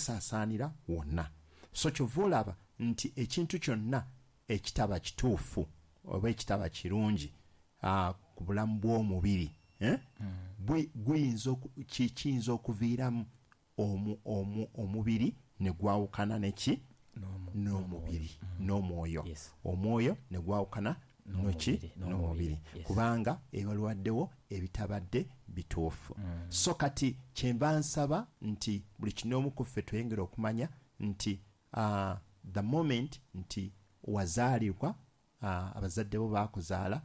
Gusaasaanira wonna. So kyova olaba nti ekintu kyonna ekitaba kituufu oba ekitaba kirungi ku bulamu bw'omubiri, eh? Kiyinza okuviiramu omubiri ne gwawukana neki? N'omubiri, n'omwoyo. Omwoyo ne gwawukana noki? N'omubiri, kubanga ebalwaddewo ebitabadde bituufu. So kati kyenva nsaba nti buli kinoomu ku ffe tweyongere okumanya nti the moment nti wazaalibwa, abazadde bo baakuzaala,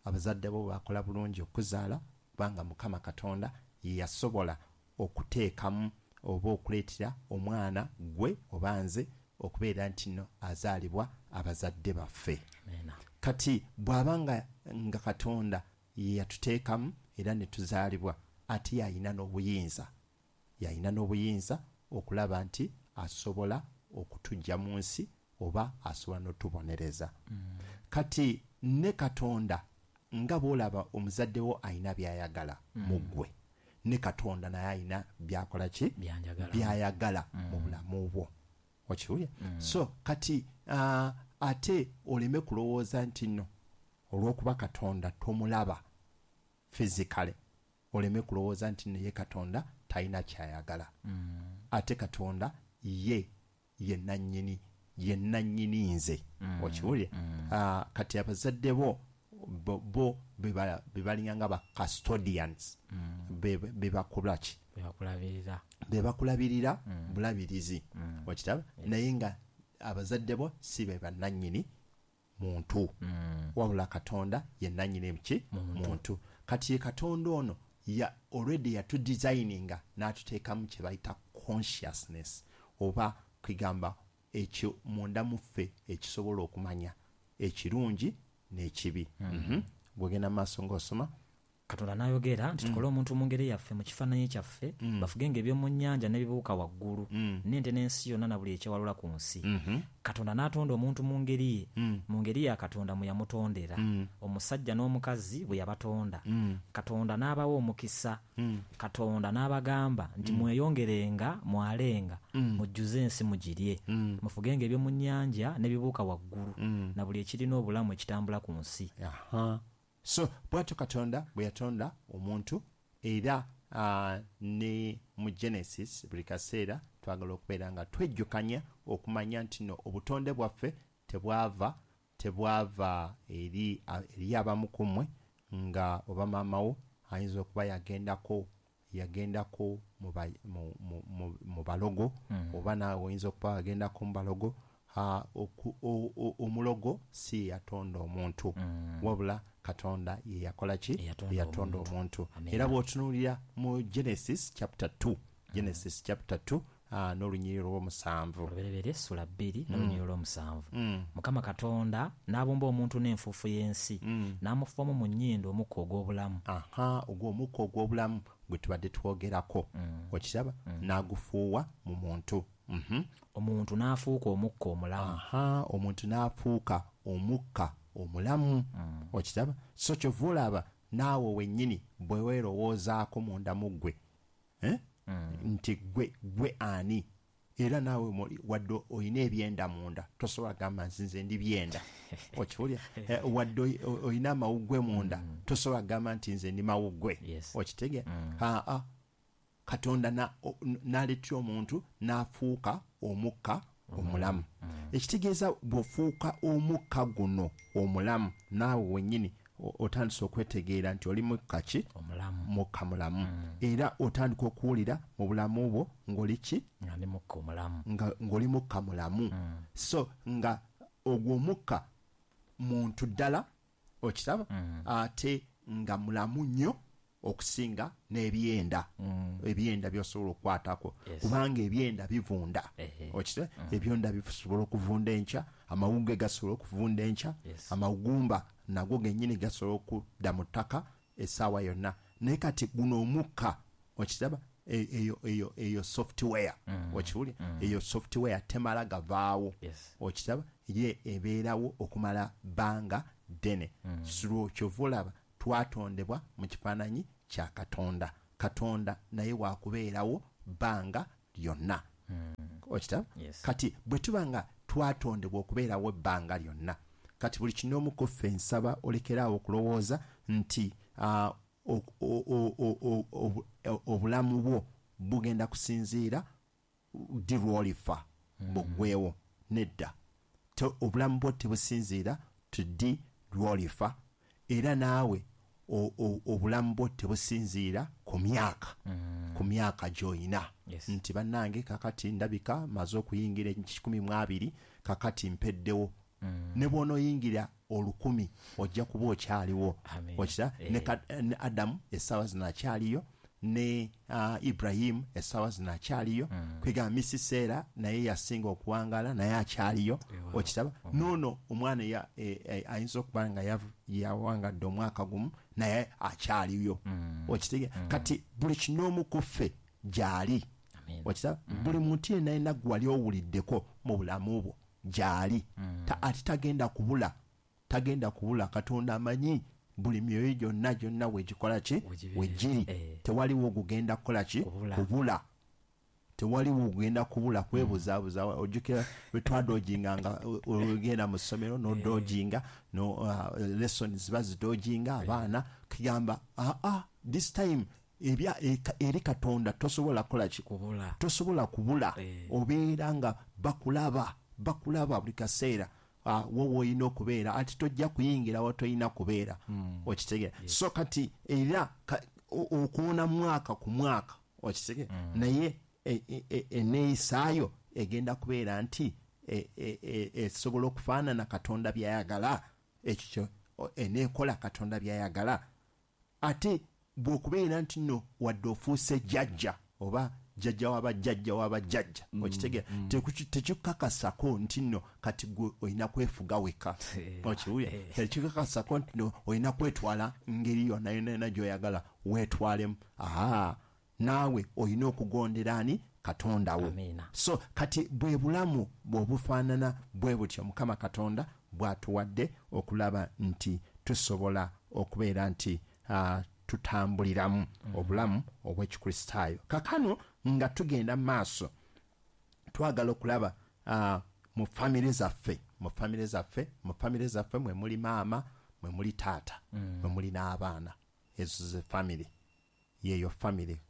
abazadde bo baakola bulungi okuzaala, kubanga Mukama Katonda ye yasobola okuteekamu oba okuleetera omwana gwe oba nze okubeera nti nno azaalibwa abazadde baffe. Kati bw'aba nga Katonda ye yatuteekamu era ne tuzaalibwa, ate yalina n'obuyinza, yalina n'obuyinza okulaba nti asobola okutuggya mu nsi oba asobola n'otubonereza. Kati ne Katonda, nga bw'olaba omuzadde wo alina by'ayagala mu ggwe, ne Katonda naye alina by'akola ki? By'ayagala mu bulamu bwo. Okiwulira? So kati ate oleme kulowooza nti nno olw'okuba Katonda tomulaba physically, oleme kulowooza nti nno ye Katonda talina ky'ayagala. Ate Katonda ye ye nannyini, ye nannyini nze. Okiwulira? Kati abazadde bo bo be balinga nga ba custodians, be bakola ki? Be bakulabirira bulabirizi. Okiraba? Naye nga abazadde bo si be bannannyini muntu, wabula Katonda ye nannyini ki? Muntu. Kati ye Katonda ono ya already yatudesigninga n'atuteekamu kye bayita consciousness, oba kwegamba ekyo munda mu ffe ekisobola okumanya ekirungi n'ekibi. Bw'ogenda mu maaso ng'osoma. Katonda n'ayogera nti, Tukole omuntu mu ngeri yaffe, mu kifaananyi kyaffe, bafugenga eby'omu nnyanja n'ebibuuka waggulu, n'ente n'ensi yonna na buli ekyewalula ku nsi. Katonda n'atonda omuntu mu ngeri ye, mu ngeri ya Katonda mwe yamutondera, omusajja n'omukazi bwe yabatonda. Katonda n'abawa omukisa. Katonda n'abagamba nti, Mweyongerenga mwalenga, mujjuze ensi mugirye. Mufugenga eby'omu nnyanja n'ebibuuka waggulu, na buli ekiri n'obulamu ekitambula ku nsi. So bw'atyo Katonda bwe yatonda omuntu, era ni mu Genesis buli kaseera twagala okubeera nga twejjukanya okumanya nti no obutonde bwaffe tebwava tebwava eri eri abamu ku mmwe nga oba maama wo ayinza okuba yagendako yagendako mu ba mu mu mu mu balogo, oba naawe oyinza okuba wagendako mu balogo. Oku o o omulogo si ye yatonda omuntu, wabula Katonda ye yakola ki? Eyatonda omuntu. Era bw'otunuulira mu Genesis chapter 2, Genesis chapter 2 n'olunyiriri olw'omusanvu. Olubereberye sula bbiri n'olunyiriri olw'omusanvu. Mukama Katonda n'abumba omuntu n'enfuufu y'ensi, n'amufuuwamu mu nnyindo omukka ogw'obulamu. Aha, ogwo omukka ogw'obulamu gwe tubadde twogerako. Okiraba? N'agufuuwa mu muntu. Omuntu n'afuuka omukka omulamu. Aha, omuntu n'afuuka omukka omulamu. Okiraba? So kyova olaba naawe wennyini bwe weerowoozaako munda mu ggwe, eh, nti ggwe, ggwe ani? Era naawe muli, wadde olina ebyenda munda, tosobola kugamba nti nze ndi byenda. Okiwulira? Wadde olina amawuggwe munda, tosobola kugamba nti nze ndi mawuggwe. Okitegeera? Haa. Katonda n'aleetera omuntu n'afuuka omukka omulamu. Ekitegeeza bw'ofuuka omukka guno omulamu, naawe wennyini otandise okwetegeera nti oli mukka ki? Mukka mulamu. Era otandika okuwulira mu bulamu bwo ng'oli ki? Nga ndi mukka omulamu. Nga ng'oli mukka mulamu. So nga ogwo omukka muntu ddala, okiraba, ate nga mulamu nnyo okusinga n'ebyenda, ebyenda by'osobola okukwataku, kubanga ebyenda bivunda. Okiraba? Ebyenda bisobola okuvunda enkya, amawuggwe gasobola okuvunda enkya, amagumba nago gennyini gasobola okudda mu ttaka esaawa yonna. Naye kati guno omukka, okiraba, eyo, eyo, eyo software, okiwulira? Eyo software temala gavaawo, okiraba? Ye ebeerawo okumala bbanga ddene. Kyova olaba twatondebwa mu kifaananyi kya Katonda. Katonda naye wa kubeerawo bbanga lyonna. Okita? Yes. Kati bwe tuba nga twatondebwa okubeerawo ebbanga lyonna, kati buli kinoomu ku ffe nsaba olekeraawo okulowooza nti obulamu bwo bugenda kusinziira ddi lw'olifa buggwewo. Nedda, obulamu bwo tebusinziira tuddi lw'olifa, era naawe obulamu bwo tebusinziira ku myaka, ku myaka gy'olina. Yes. Nti bannange kakati ndabika maze okuyingira 120, kakati mpeddewo. Ne bw'onooyingira 1000 ojja kuba okyaliwo. Amen. Okira? Ne Adamu essaawa zino akyaliyo, ne Ibrahimu essaawa zino akyaliyo, kwegamba Misiseera naye yasinga okuwangaala naye akyaliyo. Okiraba? Noono omwana ayinza okuba nga yawangadde omwaka gumu naye akyaliyo. Okitegeera? Kati buli kinoomu ku ffe gy'ali. Okiraba? Buli muntu yenna yenna gwe wali owuliddeko mu bulamu bwo gy'ali. Ate tagenda kubula, tagenda kubula. Katonda amanyi buli myoyo gyonna gyonna wegikola ki? Wegiri. Tewaliwo gugenda kukola ki? Kubula. Tewaliwo gugenda kubula kwebuzaabuza. Ojjukira bwe twadojinga nga ogenda mu ssomero n'odojinga, no lessons bazidojinga abaana, kigamba this time ebya eri Katonda tosobola kukola ki? Kubula. Tosobola kubula. Obeera nga bakulaba buli kaseera. Wo woolina okubeera, ate tojja kuyingira wo tolina kubeera. Okitegeera? So kati era okuwona mwaka ku mwaka, okitegeera? Naye enneeyisaayo egenda kubeera nti esobola okufaanana Katonda by'ayagala, ekyo eneekola Katonda by'ayagala. Ate bw'okubeera nti nno wadde ofuuse jjajja oba jjajja w'abajjajja w'abajjajja, okitegeera? Tekikukakasako nti nno kati gwe olina kwefuga wekka. Okiwulira? Tekikukakasako nti nno olina kwetwala ngeri yonna yonna yonna gy'oyagala weetwalemu. Naawe olina okugondera ani? Katonda wo. So kati bwe bulamu bw'obufaanana bwe butyo Mukama Katonda bw'atuwadde okulaba nti tusobola okubeera nti tutambuliramu obulamu obw'Ekikristaayo. Kaakano nga tugenda mu maaso, twagala okulaba mu famire zaffe, mu famire zaffe, mu famire zaffe mwe muli maama, mwe muli taata, mwe muli n'abaana. Ezo ze famire. Yeeyo famire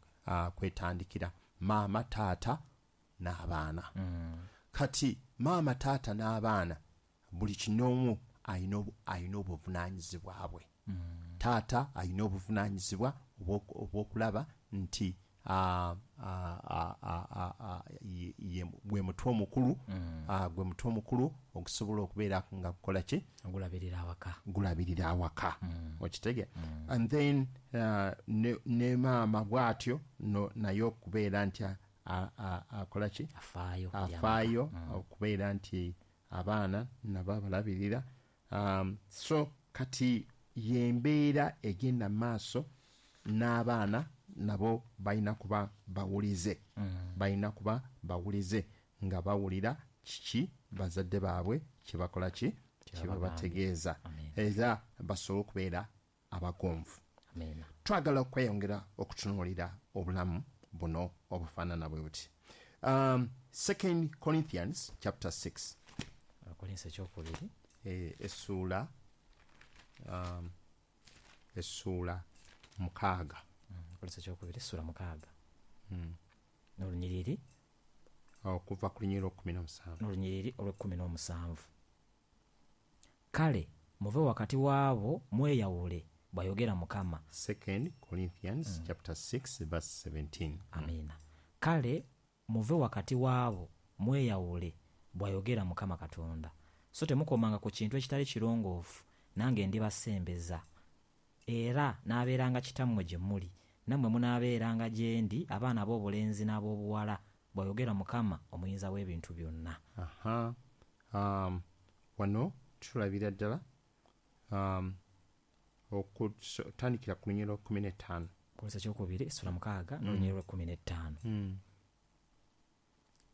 kwetandikira maama, taata n'abaana. Kati maama, taata n'abaana buli kinoomu alina obuvunaanyizibwa bwe. Taata alina obuvunaanyizibwa obw'okulaba nti gwe mutwe omukulu, gwe mutwe omukulu ogusobola okubeera nga gukola ki? Gulabirira awaka. Gulabirira awaka. Okitegeera? And then ne maama bw'atyo naye okubeera nti akola ki? Afaayo okubeera nti abaana nabo abalabirira. So kati y'embeera egenda maaso n'abaana nabo balina kuba bawulize. Balina kuba bawulize nga bawulira kiki bazadde baabwe kye bakola ki? Kye babategeeza. Era basobole okubeera abagonvu. Twagala okweyongera okutunuulira obulamu buno obufaanana bwe buti. 2 Corinthians chapter 6. Abakolinso ekyokubiri. Essuula 6. Abakolinso ekyokubiri essuula 6. N'olunyiriri okuva ku lunyiriri olw'ekkumi n'omusanvu. N'olunyiriri olw'ekkumi n'omusanvu. Kale muve wakati waabo mweyawule, bw'ayogera Mukama. 2 Corinthians chapter 6 verse 17. Amiina. Kale muve wakati waabo mweyawule, bw'ayogera Mukama Katonda. So temukomanga ku kintu ekitali kirongoofu, nange ndibasembeza. Era n'abeeranga kitammwe gye muli, nammwe munaabeeranga gye ndi abaana ab'obulenzi n'ab'obuwala, bw'ayogera Mukama omuyinza w'ebintu byonna. Aha. Wano tulabira ddala okutandikira ku lunyiriri 15. Abakolinso ekyokubiri essula 6 n'olunyiriri olw'ekkumi n'ettaano.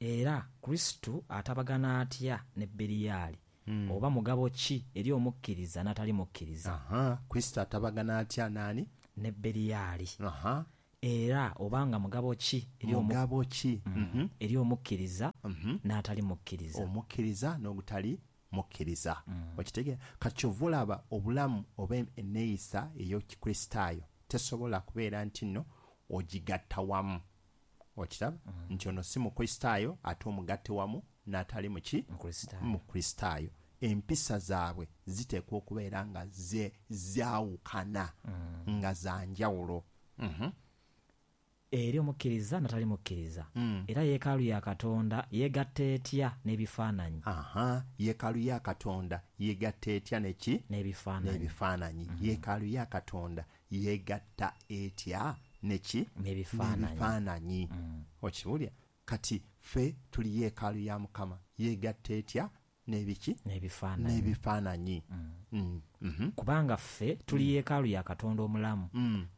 Era Kristo atabagana atya ne Beriyaali? Oba mugabo ki eri omukkiriza n'atali mukkiriza? Kristo atabagana atya naani? Ne Beriyaali. Era obanga mugabo ki mugabo ki eri omukkiriza n'atali mukkiriza, omukkiriza n'ogutali mukkiriza. Okitegeera? Kati kyova olaba obulamu oba enneeyisa ey'Ekikristaayo tesobola kubeera nti nno ogigatta wamu. Okiraba? Nti ono si Mukristaayo ate omugatte wamu n'atali muki? Mukristaayo. Empisa zaabwe ziteekwa okubeera nga zaawukana, nga za njawulo. Eri omukkiriza n'atali mukkiriza. Era yeekaalu ya Katonda yeegatta etya n'ebifaananyi? Yeekaalu ya Katonda yeegatta etya neki? N'ebifaananyi. Yeekaalu ya Katonda yeegatta etya neki? N'ebifaananyi. Okiwulira? Kati ffe tuli yeekaalu ya Mukama, yeegatta etya n'ebiki? N'ebifaananyi. Kubanga ffe tuli yeekaalu ya Katonda omulamu,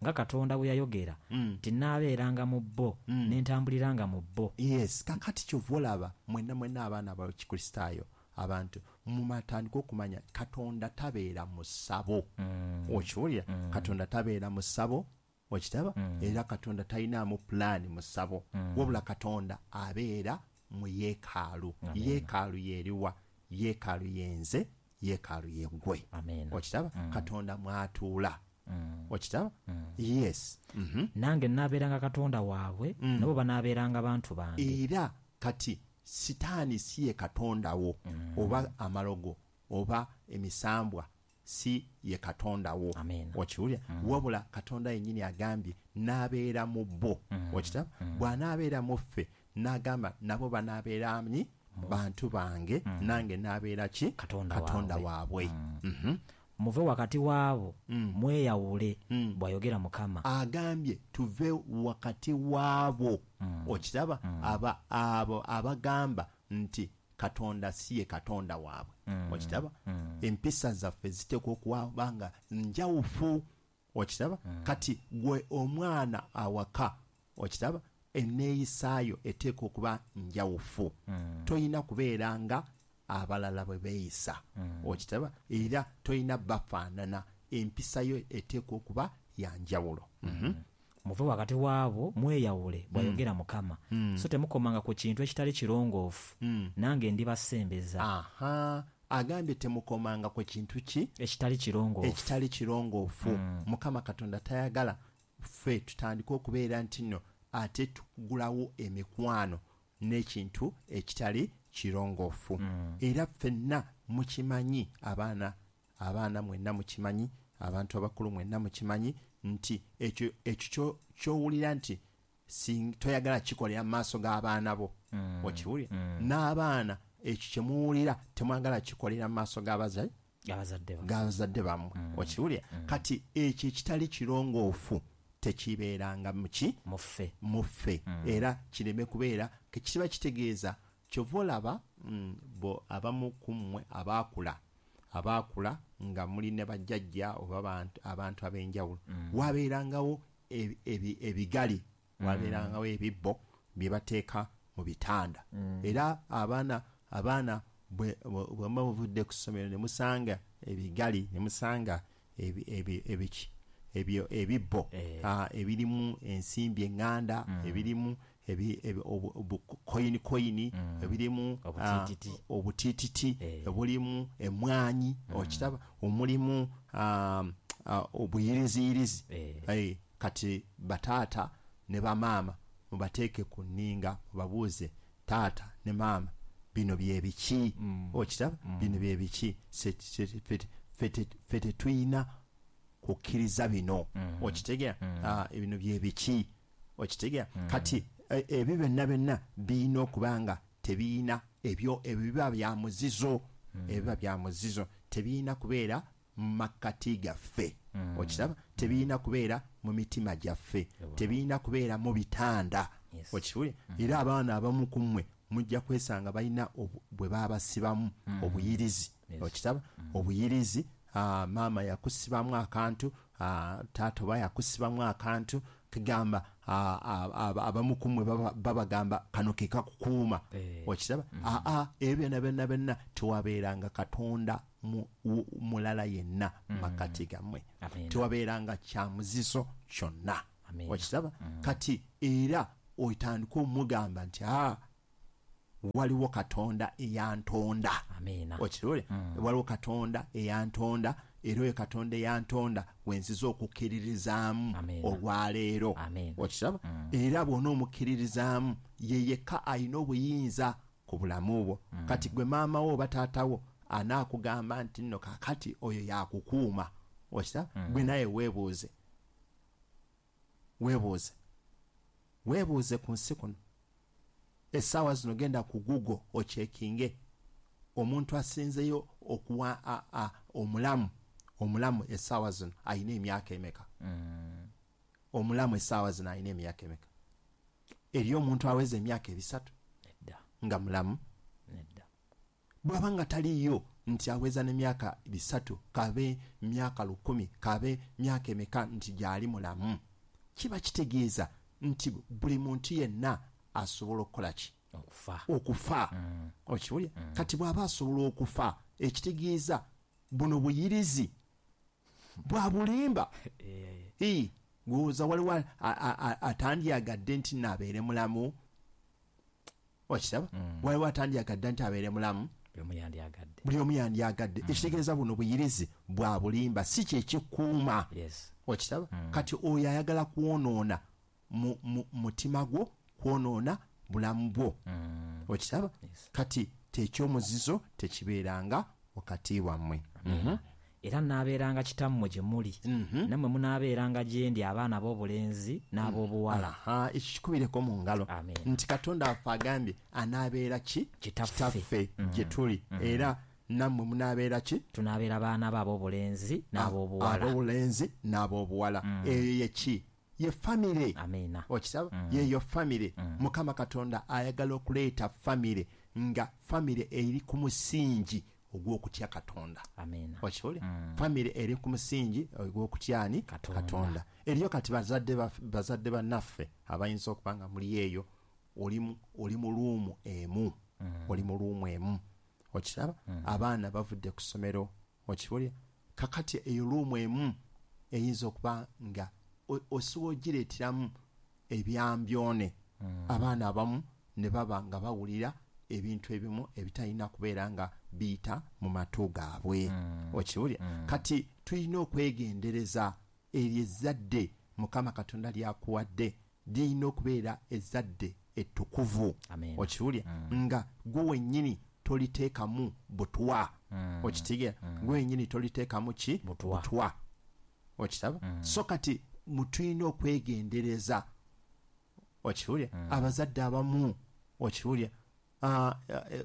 nga Katonda bwe yayogera nti nnaabeeranga mu bo, ne ntambuliranga mu bo. Yes, kakati kyova olaba mwenna mwenna abaana ab'Ekikristaayo, abantu mumatandika okumanya Katonda tabeera mu ssabo. Okiwulira? Katonda tabeera mu ssabo. Okitaba? Era Katonda talinaamu pulaani mu ssabo. Wabula Katonda abeera mu yeekaalu. Yeekaalu y'eriwa? Yeekaalu yenze, yeekaalu yeggwe. Okitaba? Katonda mwatuula. Okitaba? Yes. Nange nnaabeeranga Katonda waabwe, nabo banaabeeranga bantu bange. Era kati Sitaani si ye Katonda wo, oba amalogo oba emisambwa si ye Katonda wo. Okiwulira? Wabula Katonda yennyini agambye n'abeera mu bo. Okitaba? Bw'anaabeera mu ffe, n'agamba nabo banaabeera ani? Bantu bange, nange n'abeera ki? Katonda waabwe. Muve wakati waabo, mweyawule, bw'ayogera Mukama. Agambye tuve wakati waabo. Okiraba? Abo abagamba nti Katonda si ye Katonda waabwe. Okiraba? Empisa zaffe ziteekwa okuba nga njawufu. Okiraba? Kati gwe omwana awaka, okiraba, enneeyisaayo eteekwa okuba njawufu. Toyina kubeera nga abalala bwe beeyisa. Okiraba? Era toyina bafaanana. Empisa yo eteekwa okuba ya njawulo. Muve wakati waabo, mweyawule, bw'ayogera Mukama. So temukomanga ku kintu ekitali kirongoofu, nange ndibasembeza. Agambye temukomanga ku kintu ki? Ekitali kirongoofu. Ekitali kirongoofu. Mukama Katonda tayagala ffe tutandike okubeera nti nno ate tugulawo emikwano n'ekintu ekitali kirongoofu. Era ffenna mukimanyi, abaana mwenna mukimanyi, abantu abakulu mwenna mukimanyi nti ekyo ky'owulira nti toyagala kikolera mu maaso g'abaana bo. Okiwulira? N'abaana ekyo kye muwulira temwagala kikolera mu maaso g'abazadde bammwe. Okiwulira? Kati ekyo ekitali kirongoofu tekibeeranga muki? Muffe. Era kireme kubeera, kiba kitegeeza kyova olaba bo abamu ku mmwe abaakula nga muli ne bajjajja oba abantu ab'enjawulo, wabeerangawo ebigali, wabeerangawo ebibbo bye bateeka mu bitanda. Era abaana bwe muba muvudde ku ssomero ne musanga ebigali, ne musanga ebibbo ebirimu ensimbi eŋŋanda, ebirimu koyini, ebirimu obutiititi, obulimu emmwanyi, okitaba, omulimu obuyiriziyirizi. Kati bataata ne bamaama mubateeke ku nninga, mubabuuze, taata ne maama bino bye biki? Okitaba? Bino bye biki? Ffe tetulina kukkiriza bino. Okitegeera? Bino bye biki? Okitegeera? Kati ebyo byonna byonna birina okuba nga tebirina ebyo ebiba bya muzizo, ebiba bya muzizo tebirina kubeera mu makkati gaffe. Okiraba? Tebirina kubeera mu mitima gyaffe, tebirina kubeera mu bitanda. Okiwulira? Era abaana abamu ku mmwe mujja kwesanga balina bwe baabasibamu obuyirizi. Okiraba? Obuyirizi, maama yakusibamu akantu, taata oba yakusibamu akantu, kigamba abamu ku mmwe babagamba kano ke kakukuuma. Okiraba? Ebyo byonna byonna byonna tewabeeranga Katonda mulala yenna makkati gammwe. Tewabeeranga kya muzizo kyonna. Okiraba? Kati era otandika omugamba nti waliwo Katonda eyantonda. Okirole? Waliwo Katonda eyantonda, era oyo Katonda eyantonda wenziza okukkiririzaamu olwaleero. Okiraba? Era bw'onoomukkiririzaamu ye yekka alina obuyinza ku bulamu bwo. Kati gwe maama wo oba taata wo anaakugamba nti nno kaakati oyo yakukuuma. Okiraba? Gwe naye weebuuze. Weebuuze ku nsi kuno. Essaawa zino genda ku Google ochekinge omuntu asinzeyo okuwa omulamu essaawa zino alina emyaka emeka. Omulamu essaawa zino alina emyaka emeka. Eriyo omuntu aweza emyaka 3 nga mulamu? Bw'aba nga taliyo nti aweza n'emyaka 3 kabe myaka 1000 kabe myaka emeka nti gyali mulamu, kiba kitegeeza nti buli muntu yenna asobola okukola ki? Okufa. Okiwulira? Kati bw'aba asobola okufa, ekitegeeza buno buyirizi bwa bulimba. Gwoza waliwo atandyagadde nti naabeere mulamu. Okiraba? Waliwo atandyagadde nti abeere mulamu. Buli omu yandyagadde. Ekitegeeza buno buyirizi bwa bulimba, si kye kikuuma. Okiraba? Kati oyo ayagala kwonoona mutima gwo, kwonoona bulamu bwo. Okiraba? Kati tekyomuzizo tekibeeranga wakati wammwe. Era nnaabeeranga kitammwe gye muli, nammwe munaabeeranga gye ndi abaana ab'obulenzi n'ab'obuwala. Ekyo kikubireko mu ngalo. Nti Katonda waffe agambye anaabeera ki? Kitaffe gye tuli. Era nammwe munaabeera ki? Tunaabeera baana be ab'obulenzi n'ab'obuwala. Ab'obulenzi n'ab'obuwala. Eyo ye ki? Ye famire. Okiraba? Yeyo famire. Mukama Katonda ayagala okuleeta famire nga famire eri ku musingi ogw'okutya Katonda. Okiwulira? Famire eri ku musingi ogw'okutya ani? Katonda. Eriyo kati bazadde bannaffe abayinza okuba nga muli eyo, oli mu luumu emu. Oli mu luumu emu. Okiraba? Abaana bavudde ku ssomero. Okiwulira? Kakati eyo luumu emu eyinza okuba nga osobola ogireeteramu ebyambyone. Abaana abamu ne baba nga bawulira ebintu ebimu ebitalina kubeera nga biyita mu matu gaabwe. Okiwulira? Kati tulina okwegendereza eryo ezzadde Mukama Katonda lyakuwadde lirina okubeera ezzadde ettukuvu. Okiwulira? Nga gwe wennyini toliteekamu butwa. Okitegeera? Gwe wennyini toliteekamu ki? Butwa. Okiraba? So kati tulina okwegendereza. Okiwulira? Abazadde abamu, okiwulira,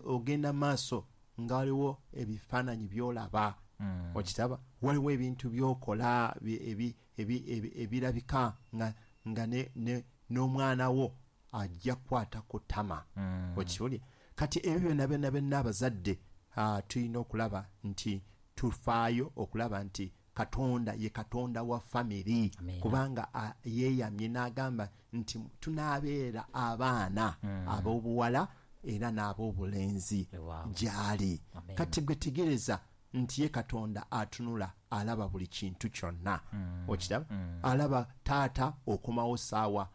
ogenda maaso nga waliwo ebifaananyi by'olaba. Okiraba? Waliwo ebintu by'okola ebirabika nga n'omwana wo ajja kukwata ku ttama. Okiwulira? Kati ebyo byonna byonna byonna abazadde tulina okulaba nti tufaayo okulaba nti Katonda ye Katonda wa famiri. Kubanga yeeyamye n'agamba nti tunaabeera abaana ab'obuwala era n'ab'obulenzi gy'ali. Kati gwe tegereza nti ye Katonda atunula alaba buli kintu kyonna. Okiraba? Alaba taata okomawo ssaawa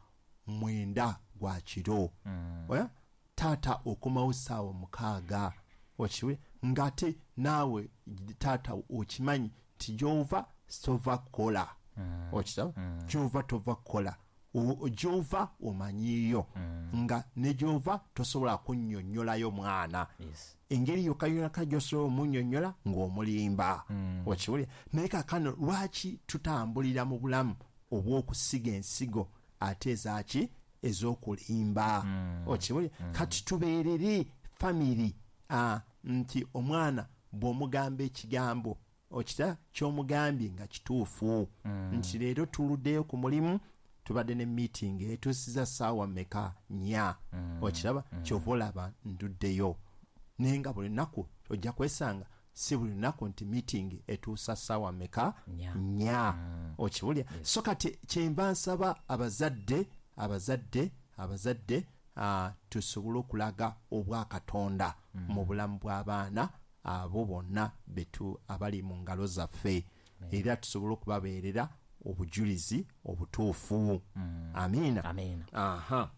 9 gwa kiro. Taata okomawo ssaawa 6. Okiwulira? Ng'ate naawe taata okimanyi nti gy'ova tova kukola. Okiraba? Gy'ova tova kukola. Gy'ova omanyiiyo. Nga ne gy'ova tosobola kunnyonnyolayo mwana. Engeri yokka yokka gy'osobola omunnyonnyola ng'omulimba. Okiwulira? Naye kaakano lwaki tutambulira mu bulamu obw'okusiga ensigo ate ezaaki? Ez'okulimba. Okiwulira? Kati tubeerere famiri nti omwana bw'omugamba ekigambo okita ky'omugambye nga kituufu. Nti leero tuluddeyo ku mulimu, tubadde ne meeting etuusiza ssaawa mmeka? 4. Okiraba? Ky'ova olaba nduddeyo. Naye nga buli lunaku ojja kwesanga si buli lunaku nti meeting etuusa ssaawa mmeka? 4. Okiwulira? So kati kyenva nsaba abazadde tusobole okulaga obwakatonda mu bulamu bw'abaana abo bonna betu abali mu ngalo zaffe. Era tusobole okubabeerera obujulizi obutuufu. Amiina. Amiina. Aha,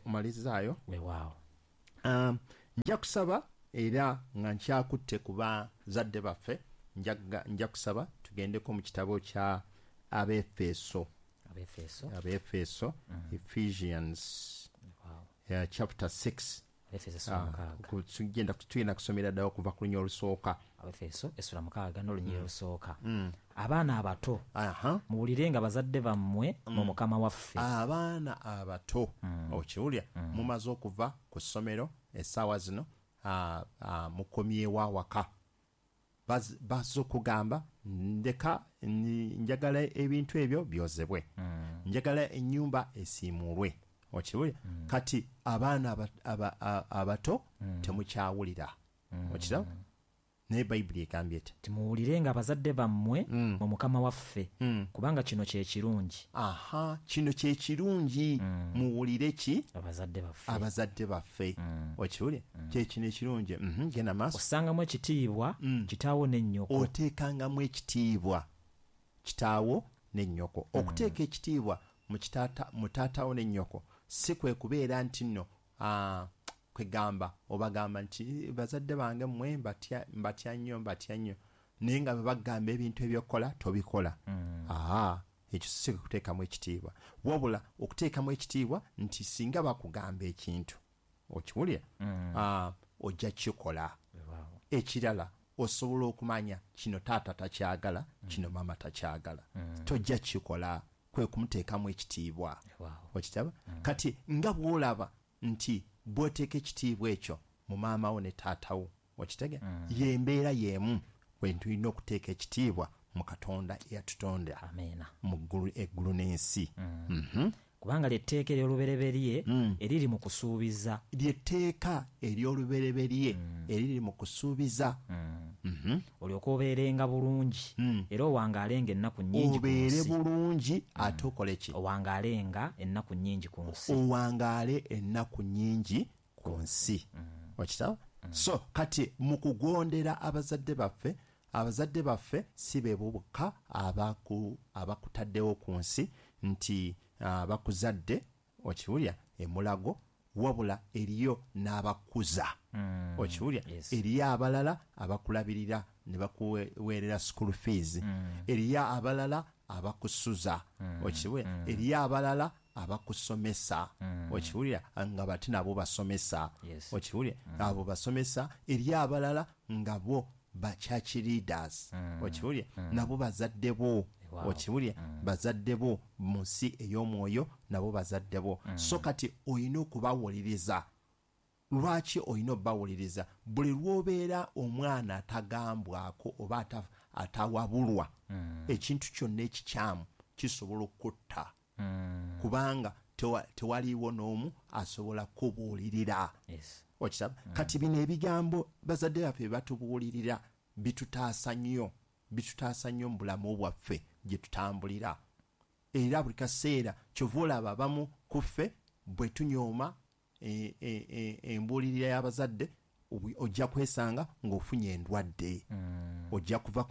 omalizaayo. Weewaawo. Nja kusaba era nga nkyakutte ku bazadde baffe, nja kusaba tugendeko mu kitabo kya Abeefeso. Abeefeso, Ephesians chapter 6. Tugenda kusomera ddala okuva ku lunya olusooka. Abeefeso essula 6 n'olunya olusooka. Abaana abato, muwulirenga bazadde bammwe mu Mukama waffe. Abaana abato, okiwulira, mumaze okuva ku ssomero essaawa zino, mukomyewo awaka. Bazze okugamba ndeka njagala ebintu ebyo byozebwe, njagala ennyumba esiimuulwe. Okiwulira? Kati abaana abato temukyawulira. Okiraba? Naye Bayibuli egambye eti, timuwulirenga abazadde bammwe mu Mukama waffe, kubanga kino kye kirungi. Aha, kino kye kirungi. Muwulire ki? Abazadde baffe. Abazadde baffe. Okiwulira? Kye kino ekirungi. Genda maaso. Ossangamu ekitiibwa kitaawo n'ennyoko. Oteekangamu ekitiibwa kitaawo n'ennyoko. Okuteeka ekitiibwa mu taatawo n'ennyoko si kwe kubeera nti nno kwegamba obagamba nti bazadde bange mmwe mbatya nnyo, naye nga bwe bagamba ebintu ebyokukola tobikola. Ekyo si kuteekamu ekitiibwa, wabula okuteekamu ekitiibwa nti singa bakugamba ekintu okiwulira, ojja kukikola. Ekirala osobola okumanya kino taata takyagala, kino maama takyagala, tojja kukikola, kwe kumuteekamu ekitiibwa. Okitaba? Kati nga bw'olaba nti bw'oteeka ekitiibwa ekyo mu maama wo ne taata wo, okitege, y'embeera y'emu kwe tulina okuteeka ekitiibwa mu Katonda eyatutonda. Amiina. Mu eggulu n'ensi. Kubanga ly'etteeka ery'olubereberye eriri mu kusuubiza. Ly'etteeka ery'olubereberye eriri mu kusuubiza. Olyoke obeerenga bulungi, era owangaalenga ennaku nnyingi ku nsi. Obeere bulungi ate okole ki? Owangaalenga ennaku nnyingi ku nsi. Owangaale ennaku nnyingi ku nsi. Okitaba? So kati mu kugondera abazadde baffe, abazadde baffe si be bokka abakutaddewo ku nsi nti bakuzadde, okiwulira, emulago, wabula eriyo n'abakuza. Okiwulira? Eriyo abalala abakulabirira ne bakuweerera school fees, eriyo abalala abakusuza, okiwulira, eriyo abalala abakusomesa, okiwulira, nga bati nabo basomesa, okiwulira, abo basomesa, eriyo abalala nga bo ba church leaders, okiwulira, nabo bazadde bo. Okiwulira, bazadde bo mu nsi ey'omwoyo, nabo bazadde bo. So kati olina okubawuliriza. Lwaki olina obbawuliriza? Buli lw'obeera omwana atagambwako oba atawabulwa, ekintu kyonna ekikyamu kisobola okutta, kubanga tewaliiwo n'omu asobola kubuulirira. Okiraba? Kati bino ebigambo bazadde baffe batubuulirira bitutaasa nnyo, bitutaasa nnyo mu bulamu bwaffe gye tutambulira. Era buli kaseera kyova olaba abamu ku ffe bwe tunyooma embuulirira y'abazadde, ojja kwesanga ng'ofunye endwadde. Ojja kuva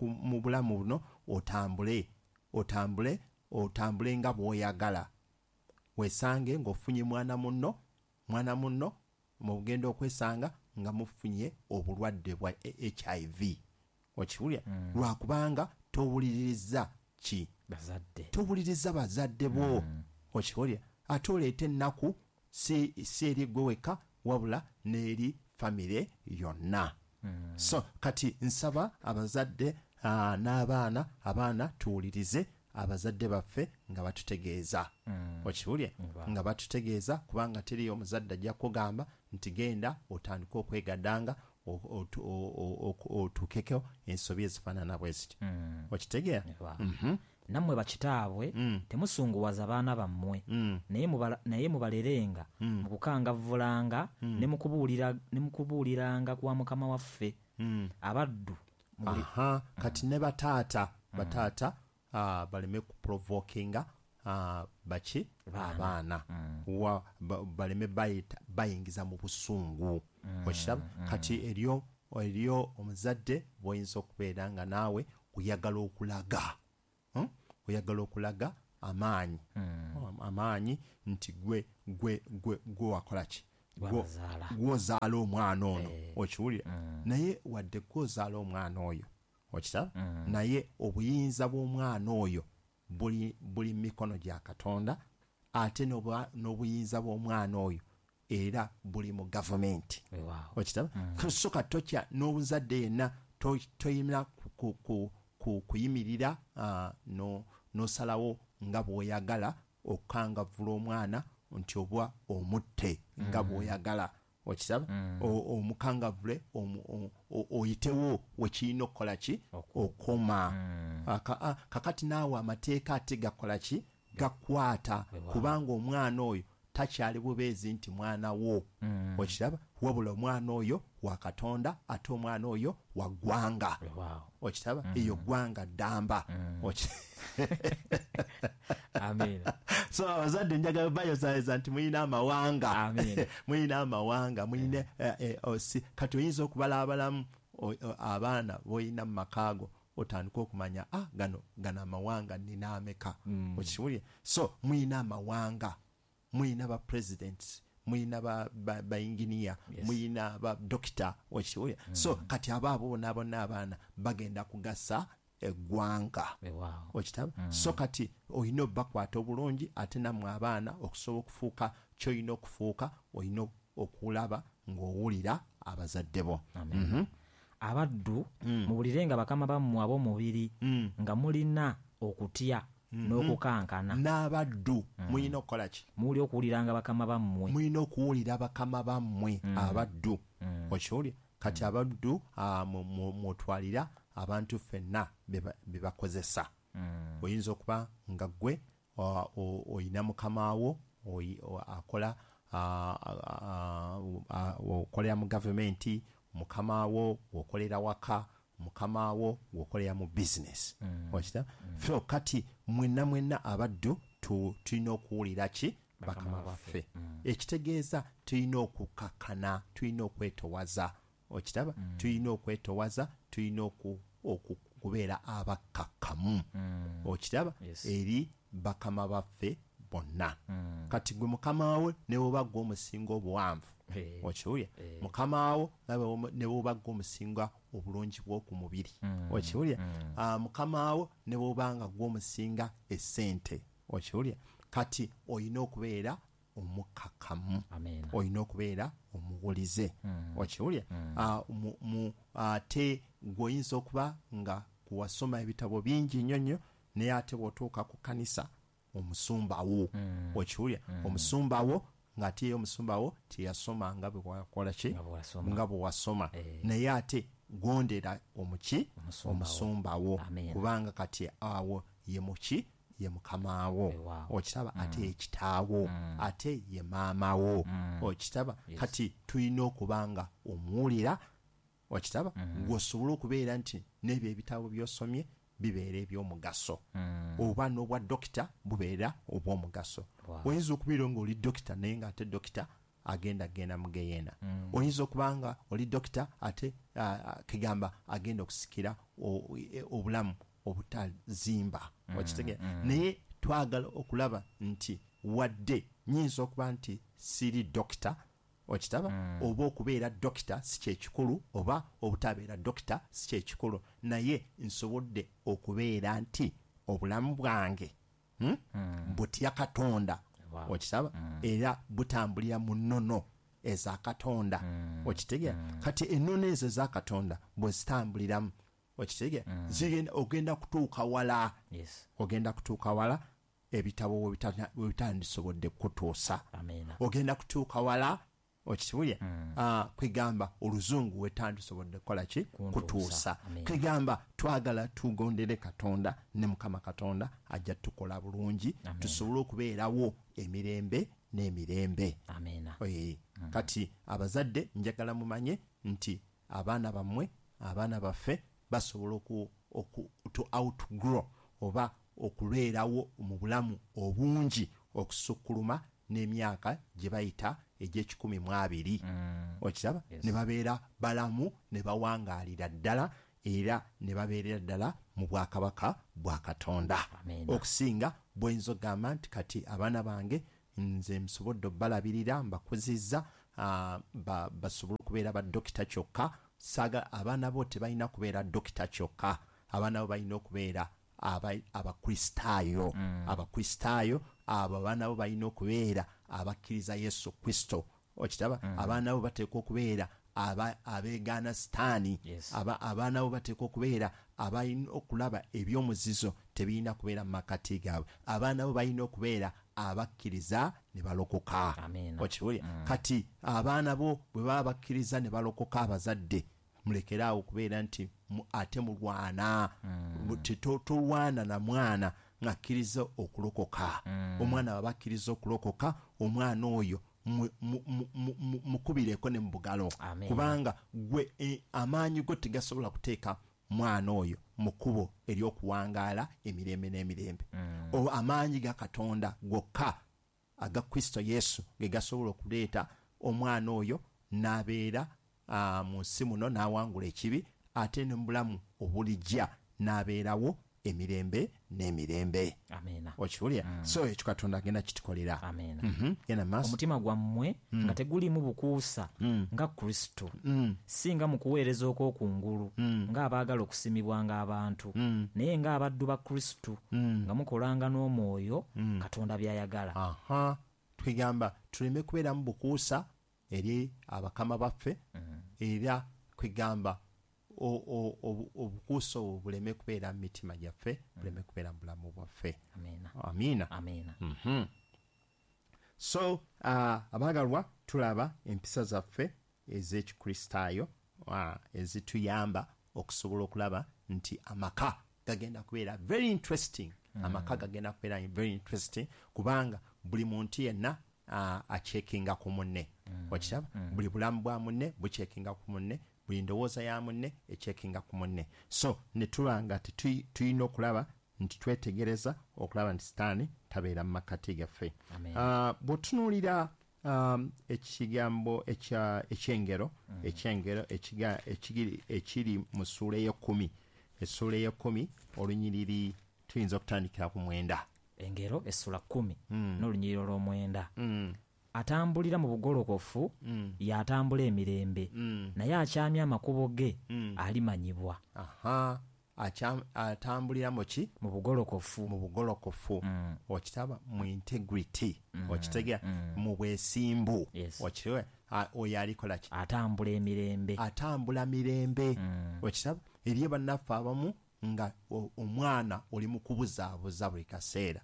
mu bulamu buno otambule otambule otambule nga bw'oyagala, weesange ng'ofunye mwana munno mugenda okwesanga nga mufunye obulwadde bwa HIV. Okiwulira? Lwakubanga towuliriza ki? Bazadde. Towuliriza bazadde bo. Okiwulira? Ate oleeta ennaku si eri gwe wekka, wabula n'eri famire yonna. So kati nsaba abazadde n'abaana, abaana tuwulirize abazadde baffe nga batutegeeza. Okiwulira? Nga batutegeeza, kubanga teriyo omuzadde ajja kugamba nti genda otandike okwegaddanga otuukeko ensobi ezifaanana bwe ziti. Okitegeera? Nammwe bakitaabwe temusunguwaza baana bammwe, naye mubalerenga mu kukangavvulanga ne mu kubuuliranga kwa Mukama waffe. Abaddu. Kati ne bataata, baleme kuprovokinga baki abaana, baleme bayingiza mu busungu. Okiraba? Kati eriyo omuzadde bw'oyinza okubeera nga naawe oyagala okulaga. Oyagala okulaga amaanyi. Amaanyi nti gwe wakola ki? Gwozaala omwana ono. Okiwulira? Naye wadde gwozaala omwana oyo, okiraba? Naye obuyinza bw'omwana oyo buli mikono gya Katonda, ate n'obuyinza bw'omwana oyo era buli mu gavumenti. Okiraba? So katokya n'obuzadde yenna toyina kuyimirira n'osalawo nga bw'oyagala okukangavvula omwana nti oba omutte nga bw'oyagala. Okiraba? Omukangavvule oyitewo wekirina okukola ki? Okoma. Kakati naawe amateeka ate gakola ki? Gakwata, kubanga omwana oyo takyali bubeezi nti mwana wo. Okiraba? Wabula omwana oyo wa Katonda, ate omwana oyo wa ggwanga. Okiraba? Eyo ggwanga ddamba. Amen. So abazadde njagala bayozayoza nti mulina amawanga. Mulina amawanga, mulina kati oyinza okubala abalamu abaana b'olina mu makaago, otandika okumanya gano amawanga nina ameka. Okiwulira? So mulina amawanga, mulina ba presidents, mulina ba engineer, mulina ba doctor. Okiwulira? So kati abo bonna bonna abaana bagenda kugasa eggwanga. Okitaba? So kati olina obbakwata obulungi, ate nammwe abaana okusobola okufuuka ky'olina okufuuka, olina okulaba ng'owulira abazadde bo. Abaddu muwulirenga bakama bammwe ab'omubiri nga mulina okutya n'okukankana. N'abaddu mulina okukola ki? Muli okuwuliranga bakama bammwe. Mulina okuwulira bakama bammwe abaddu. Okiwulira? Kati abaddu mutwalira abantu ffenna be bakozesa. Oyinza okuba nga ggwe oyina mukamaawo akola okolera mu gavumenti, mukamaawo okolera waka, mukamaawo okolera mu bizinesi. Okiraba? So kati mwenna mwenna abaddu tulina okuwulira ki? Bakama baffe. Ekitegeeza tulina okukakkana, tulina okwetowaza. Okiraba? Tulina okwetowaza, tulina okubeera abakkakkamu. Okiraba? Eri bakama baffe bonna. Kati gwe mukamaawo ne bw'oba ggwe omusinga obuwanvu. Okiwulira? Mukamaawo ne bw'oba ggwe omusinga obulungi bw'oku mubiri. Okiwulira? Mukamaawo ne bw'oba nga ggwe omusinga essente. Okiwulira? Kati olina okubeera omukkakkamu. Olina okubeera omuwulize. Okiwulira? Ate ggwe oyinza okuba nga wasoma ebitabo bingi nnyo nnyo, naye ate bw'otuuka ku kkanisa omusumba wo. Okiwulira? Omusumba wo ng'ate ye omusumba wo teyasoma nga bwe wakola ki? Nga bwe wasoma. Naye ate gondera omuki? Omusumba wo. Kubanga kati awo ye muki? Ye mukamaawo. Okiraba? Ate ye kitaawo. Ate ye maama wo. Okiraba? Kati tulina okuba nga omuwulira. Okiraba? Gw'osobola okubeera nti n'ebyo ebitabo by'osomye bibeera eby'omugaso. Oba n'obwa dokita bubeera obw'omugaso. Oyinza okubeera ng'oli dokita naye ng'ate dokita agenda mu geyeena. Oyinza okuba nga oli dokita ate kigamba agenda okusikira obulamu obutazimba. Okitegeera? Naye twagala okulaba nti wadde nyinza okuba nti siri dokita, okitaba? Oba okubeera dokita si kyekikulu, oba obutabeera dokita si kyekikulu, naye nsobodde okubeera nti obulamu bwange butya Katonda. Okitaba? Era butambulira mu nnono eza Katonda. Okitegeera? Kati ennono ezo eza Katonda bwe zitambuliramu, okitegeera? Ogenda kutuuka wala. Ogenda kutuuka wala ebitabo we bitandisobodde kutuusa. Ogenda kutuuka wala, okiwulira? Kwegamba oluzungu we tandisobodde kukola ki? Kutuusa. Kwegamba twagala tugondere Katonda, ne Mukama Katonda ajja tukola bulungi, tusobole okubeerawo emirembe n'emirembe. Kati abazadde njagala mumanye nti abaana bammwe, abaana baffe basobola to outgrow oba okubeerawo mu bulamu obungi okusukkuluma n'emyaka gye bayita egy'e120. Okiraba? Ne babeera balamu, ne bawangaalira ddala, era ne babeerera ddala mu bwakabaka bwa Katonda. Okusinga bw'oyinza okugamba nti kati abaana bange nze nsobodde obbalabirira, mbakuzizza, basobole okubeera badokita kyokka. Saagala abaana bo tebalina kubeera dokita kyokka, abaana bo balina okubeera Abakristaayo. Abakristaayo abo abaana bo balina okubeera abakkiriza Yesu Kristo. Okitaba? Abaana bo bateekwa okubeera abeegaana Sitaani. Abaana bo bateekwa okubeera abalina okulaba ebyomuzizo tebirina kubeera mu makati gaabwe. Abaana bo balina okubeera abakkiriza ne balokoka. Okiwulira? Kati abaana bo bwe baba bakkiriza ne balokoka, abazadde mulekere awo okubeera nti ate mulwana. Tolwana na mwana ng'akkiriza okulokoka. Omwana bw'aba akkiriza okulokoka, omwana oyo mukubireko ne mu bugalo, kubanga gwe amaanyi go tegasobola kuteeka mwana oyo mu kkubo ery'okuwangaala emirembe n'emirembe. Amaanyi ga Katonda gokka aga Kristo Yesu ge gasobola okuleeta omwana oyo n'abeera mu nsi muno n'awangula ekibi, ate ne mu bulamu obulijja n'abeerawo emirembe n'emirembe. Amiina. Okiwulira? So ekyo Katonda agenda kitukolera. Amiina. Genda mu maaso. Omutima gwammwe nga teguliimu bukuusa nga Kristo, si nga mu kuweereza okw'okungulu ng'abaagala okusiimibwanga abantu, naye ng'abaddu ba Kristo, nga mukolanga n'omwoyo Katonda by'ayagala. Aha. Twegamba tuleme kubeeramu bukuusa eri abakama baffe, era kwegamba obukuusa obwo buleme kubeera mu mitima gyaffe, buleme kubeera mu bulamu bwaffe. Amiina. Amiina. Amiina. So abaagalwa, tulaba empisa zaffe ez'Ekikristaayo ezituyamba okusobola okulaba nti amaka gagenda kubeera very interesting. Amaka gagenda kubeera very interesting kubanga buli muntu yenna acheckinga ku munne. Okiraba? Buli bulamu bwa munne bucheckinga ku munne, buli ndowooza ya munne echeckinga ku munne. So ne tuba nga tulina okulaba nti twetegereza okulaba nti Sitaani tabeera mu makkati gaffe. Amen. Bw'otunuulira ekigambo ekyengero, ekyengero ekiri mu ssuula ey'ekkumi, essuula ey'ekkumi olunyiriri tuyinza okutandikira ku 9. Engero essula 10 n'olunyiriri olw'omwenda. Atambulira mu bugolokofu y'atambula emirembe, naye akyamya amakubo ge alimanyibwa. Aha. Atambulira mu ki? Mu bugolokofu. Mu bugolokofu. Okitaba mu integrity. Okitegera mu bwesimbu. Okitegeera oyo alikola ki? Atambula emirembe. Atambula mirembe. Okitaba eriyo bannaffe abamu nga omwana oli mu kubuzaabuza buli kaseera.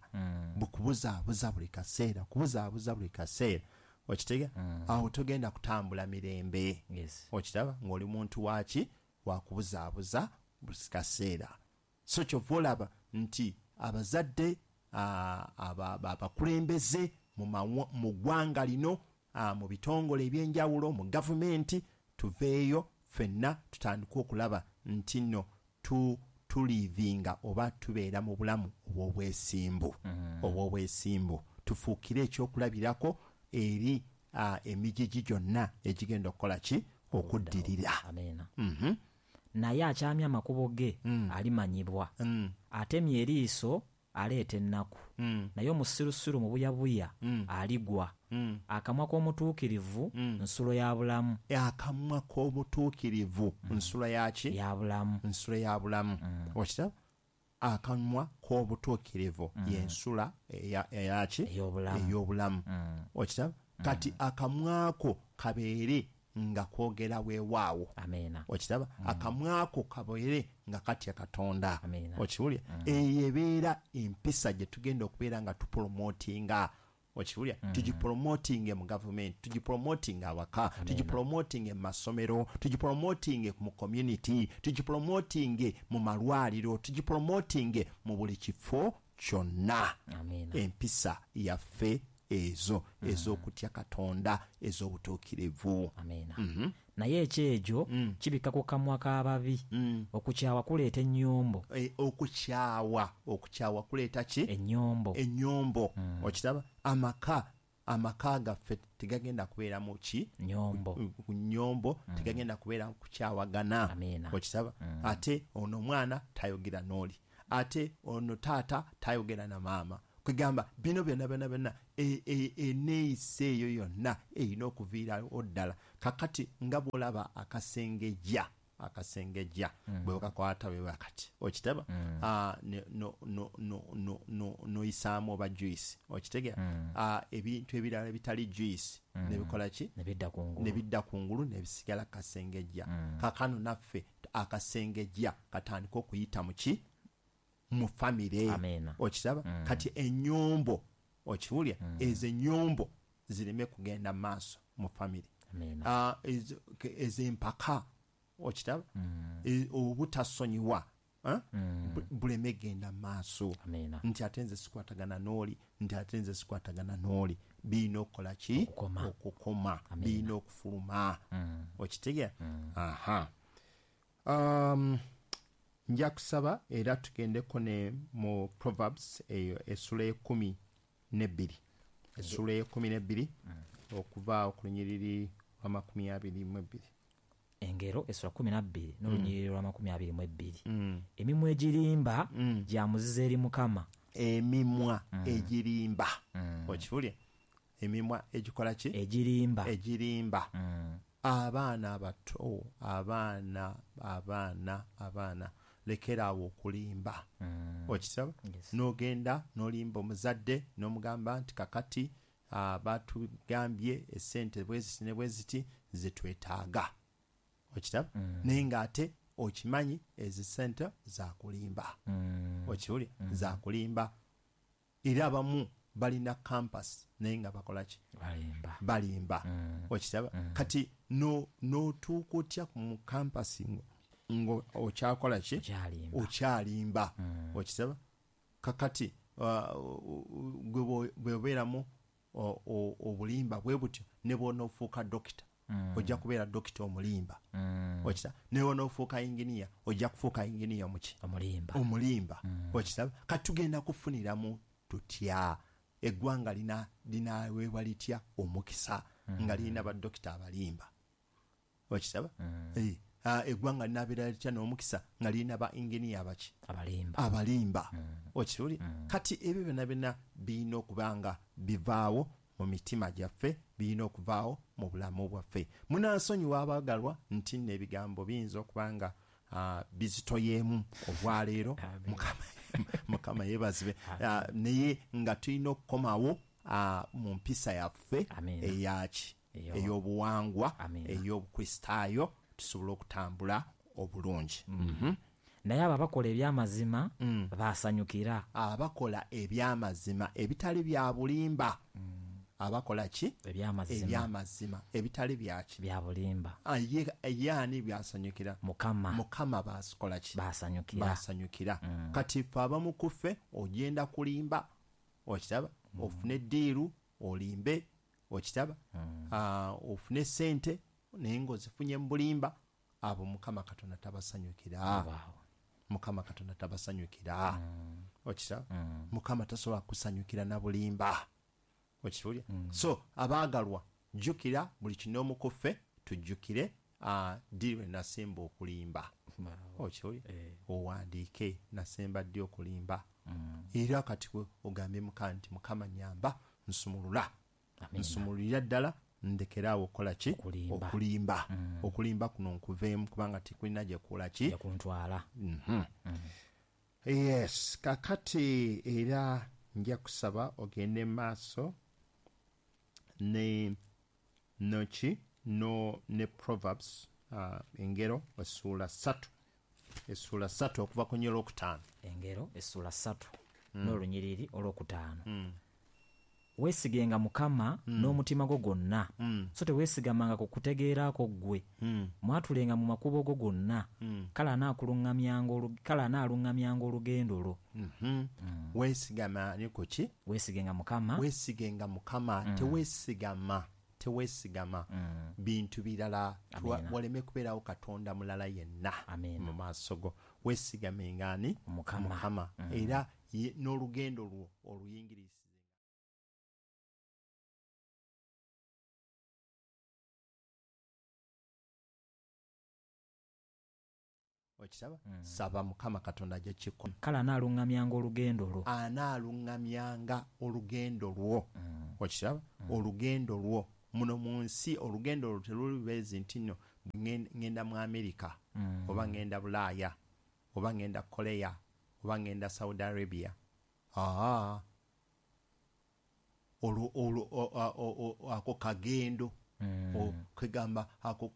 Bukubuzaabuza buli kaseera, kubuzaabuza buli kaseera. Okitegeera? Awo togenda kutambula mirembe. Okitaba ng'oli muntu waki? Wakubuzaabuza buli kaseera. So kyova olaba nti abazadde, abakulembeze mu ggwanga lino, mu bitongole eby'enjawulo, mu gavumenti, tuveeyo ffenna tutandike okulaba nti nno tulivinga oba tubeera mu bulamu obw'obwesimbu. Obw'obwesimbu. Tufuukire ekyokulabirako eri emigigi gyonna egigenda okukola ki? Okuddirira. Amiina. Naye akyamya amakubo ge alimanyibwa. Atemya eriiso aleeta ennaku. Naye omusirusiru mu buyabuya aligwa. Akamwa k'omutuukirivu nsulo ya bulamu. Akamwa k'omutuukirivu nsulo ya ki? Ya bulamu. Nsulo ya bulamu. Okiraba? Akamwa k'obutuukirivu y'ensula eyaki? Ey'obulamu. Ey'obulamu. Okiraba? Kati akamwako kabeere nga kwogera weewaawo. Amiina. Okiraba? Akamwako kabeere nga katya Katonda. Amiina. Okiwulira? Eyo ebeera empisa gye tugenda okubeera nga tupromotinga. Okiwulira? Tugipromotinge mu gavumenti, tugipromotinge awaka, tugipromotinge mu masomero, tugipromotinge mu community, tugipromotinge mu malwaliro, tugipromotinge mu buli kifo kyonna. Amiina. Empisa yaffe ezo ez'okutya Katonda, ez'obutuukirivu. Amiina. Naye ekyejo kibikka ku kamwa k'ababi. Okukyawa kuleeta ennyombo. Okukyawa kuleeta ki? Ennyombo. Ennyombo. Okiraba? Amaka Amaka gaffe tegagenda kubeeramu ki? Nyombo. Nyombo, tegagenda kubeera kukyawagana. Okiraba? Ate ono omwana tayogera n'oli, ate ono taata tayogera na maama. Kwegamba bino byonna byonna byonna eneeyisa eyo yonna erina okuviirawo ddala. Kakati nga bw'olaba akasengejja bwe bakakwata bwe bakati, okitaba? Noyisaamu oba juice, okitegera? Ebintu ebirala ebitali juice nebikola ki? Nebidda kungulu nebisigala kasengejja. Kakano naffe akasengejja katandika okuyita mu ki? Mu famire. Okiraba? Kati ennyombo, okiwulira? Ezo ennyombo zireme kugenda maaso mu famire. Ez'empaka, okiraba? Obutasonyiwa buleme genda maaso. Nti ate nze sikwatagana n'oli, nti ate nze sikwatagana n'oli. Birina okukola ki? Okukoma. Birina okufuluma. Okitegeera? Aha. Nja kusaba era tugendeko ne mu Proverbs eyo essula 12. Essula 12 okuva ku lunyiriri lwa 22. Engero essula 12 n'olunyiriri lwa 22. Emimwa egirimba gya muzizo eri Mukama. Emimwa egirimba. Okiwulira? Emimwa egikola ki? Egirimba. Egirimba. Abaana abato, abaana lekeraawo okulimba. Okiraba? N'ogenda n'olimba omuzadde n'omugamba nti kakati batugambye essente bweziti ne bweziti zetwetaaga. Okiraba? Naye ng'ate okimanyi ezo ssente zakulimba. Okiwulira? Zakulimba. Era abamu balina campus naye nga bakola ki? Balimba. Okiraba? Kati n'otuuka otya mu campus ngo okyakola ki? Okyalimba. Okiraba? Kakati gwe bw'obeeramu obulimba bwe butyo ne bw'onoofuuka dokita, ojja kubeera dokita omulimba. Okiraba? Ne bw'onoofuuka inginiya, ojja kufuuka inginiya omuki? Omulimba. Okiraba? Kati tugenda kufuniramu tutya? Eggwanga linaweebwa litya omukisa nga lirina badokita abalimba? Okiraba? Eggwanga linabeera litya n'omukisa nga lirina ba inginiya abaki? Abalimba. Okiwulira? Kati ebyo byonna byonna birina okuba nga bivaawo mu mitima gyaffe, birina okuvaawo mu bulamu bwaffe. Munansonyiwa abaagalwa nti nno ebigambo biyinza okuba nga bizitoyeemu olwaleero. Mukama yeebazibwe. Naye nga tulina okukomawo mu mpisa yaffe eyaki? Ey'obuwangwa, ey'obukristaayo, tusobole okutambula obulungi. Naye abo abakola ebyamazima basanyukira. Abakola ebyamazima ebitali bya bulimba. Abakola ki? Ebyamazima ebitali byaki? Bya bulimba. Ye ani byasanyukira? Mukama. Mukama basikola ki? Basanyukira. Kati ffe abamu ku ffe ogenda kulimba, okiraba? Ofune eddiiru olimbe, okiraba? Ofune ssente naye ng'ozifunye mu bulimba. Abo Mukama Katonda tabasanyukira. Mukama Katonda tabasanyukira. Okiraba? Mukama tasobola kusanyukira na bulimba. Okiwulira? So abaagalwa, jjukira buli kinoomu ku ffe tujjukire ddi lwe nasemba okulimba. Okiwulira? Owandiike nasemba ddi okulimba. Era kati ogambye Mukama nti Mukama nnyamba, nsumulula. Nsumululira ddala ndekeraawo okukola ki? Okulimba. Okulimba kuno nkuveemu kubanga tekulina gye kukola ki? Kuntwala. Yes, kakati era nja kusaba ogende maaso ne noki no ne Proverbs engero essula 3. Essula 3 okuva ku nyolo 5. Engero essula 3 n'olunyiriri olwokutaano. Weesigenga Mukama n'omutima gwo gwonna, so teweesigamanga ku kutegeerako ggwe. Mwatulenga mu makubo go gonna, kale anaaluŋŋamyanga olugendo lwo. Weesigama ni ku ki? Weesigenga Mukama. Weesigenga Mukama, teweesigama bintu birala. Waleme kubeerawo Katonda mulala yenna mu maaso go. Weesigamenga ani? Mukama. Era n'olugendo lwo oluyingiriza. Okiraba? Saba Mukama Katonda ajja kukikola. Kale anaaluŋŋamyanga olugendo lwo. Anaaluŋŋamyanga olugendo lwo. Okiraba? Olugendo lwo muno mu nsi, olugendo olwo terulibeezi nti nno ŋŋenda mu Amerika, oba ŋŋenda Bulaaya, oba ŋŋenda Korea, oba ŋŋenda Saudi Arabia. Aa, olwo ako kagendo, kwegamba ako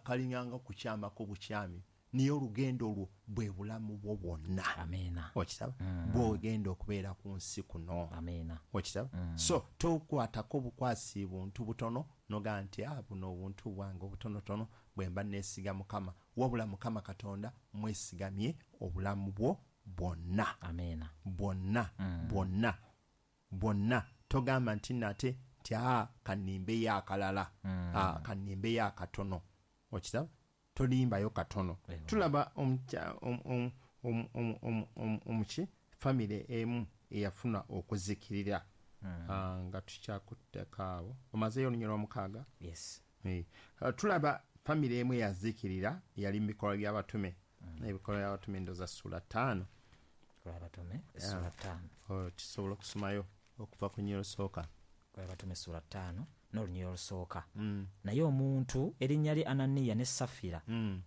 kalinganga kukyamako bukyami, naye olugendo olwo bwe bulamu bwo bwonna. Amiina. Okiraba? Bw'ogenda okubeera ku nsi kuno. Amiina. Okiraba? So tokwatako bukwasi buntu butono nogaa nti buno obuntu bwange obutonotono bwe mba neesiga Mukama, wabula Mukama Katonda mwesigamye obulamu bwo bwonna. Amiina. Bwonna, bwonna, bwonna. Togamba nti nate nti kannimbeyo akalala, kannimbeyo akatono. Okiraba? Tolimbayo katono. Tulaba omuki famire emu eyafuna okuzikirira, nga tukyakutteko awo. Omazeeyo olunyiriri lwomukaaga? Yes. Tulaba famire emu eyazikirira yali mu bikolwa by'abatume. Ebikolwa by'abatume ndowooza ssuula 5. Abatume ssuula 5. Tusobola okusomayo okuva ku lunyiriri olusooka. Abatume ssuula 5 n'olunyiriri olusooka. Naye omuntu erinnya lye Ananiya ne Safira,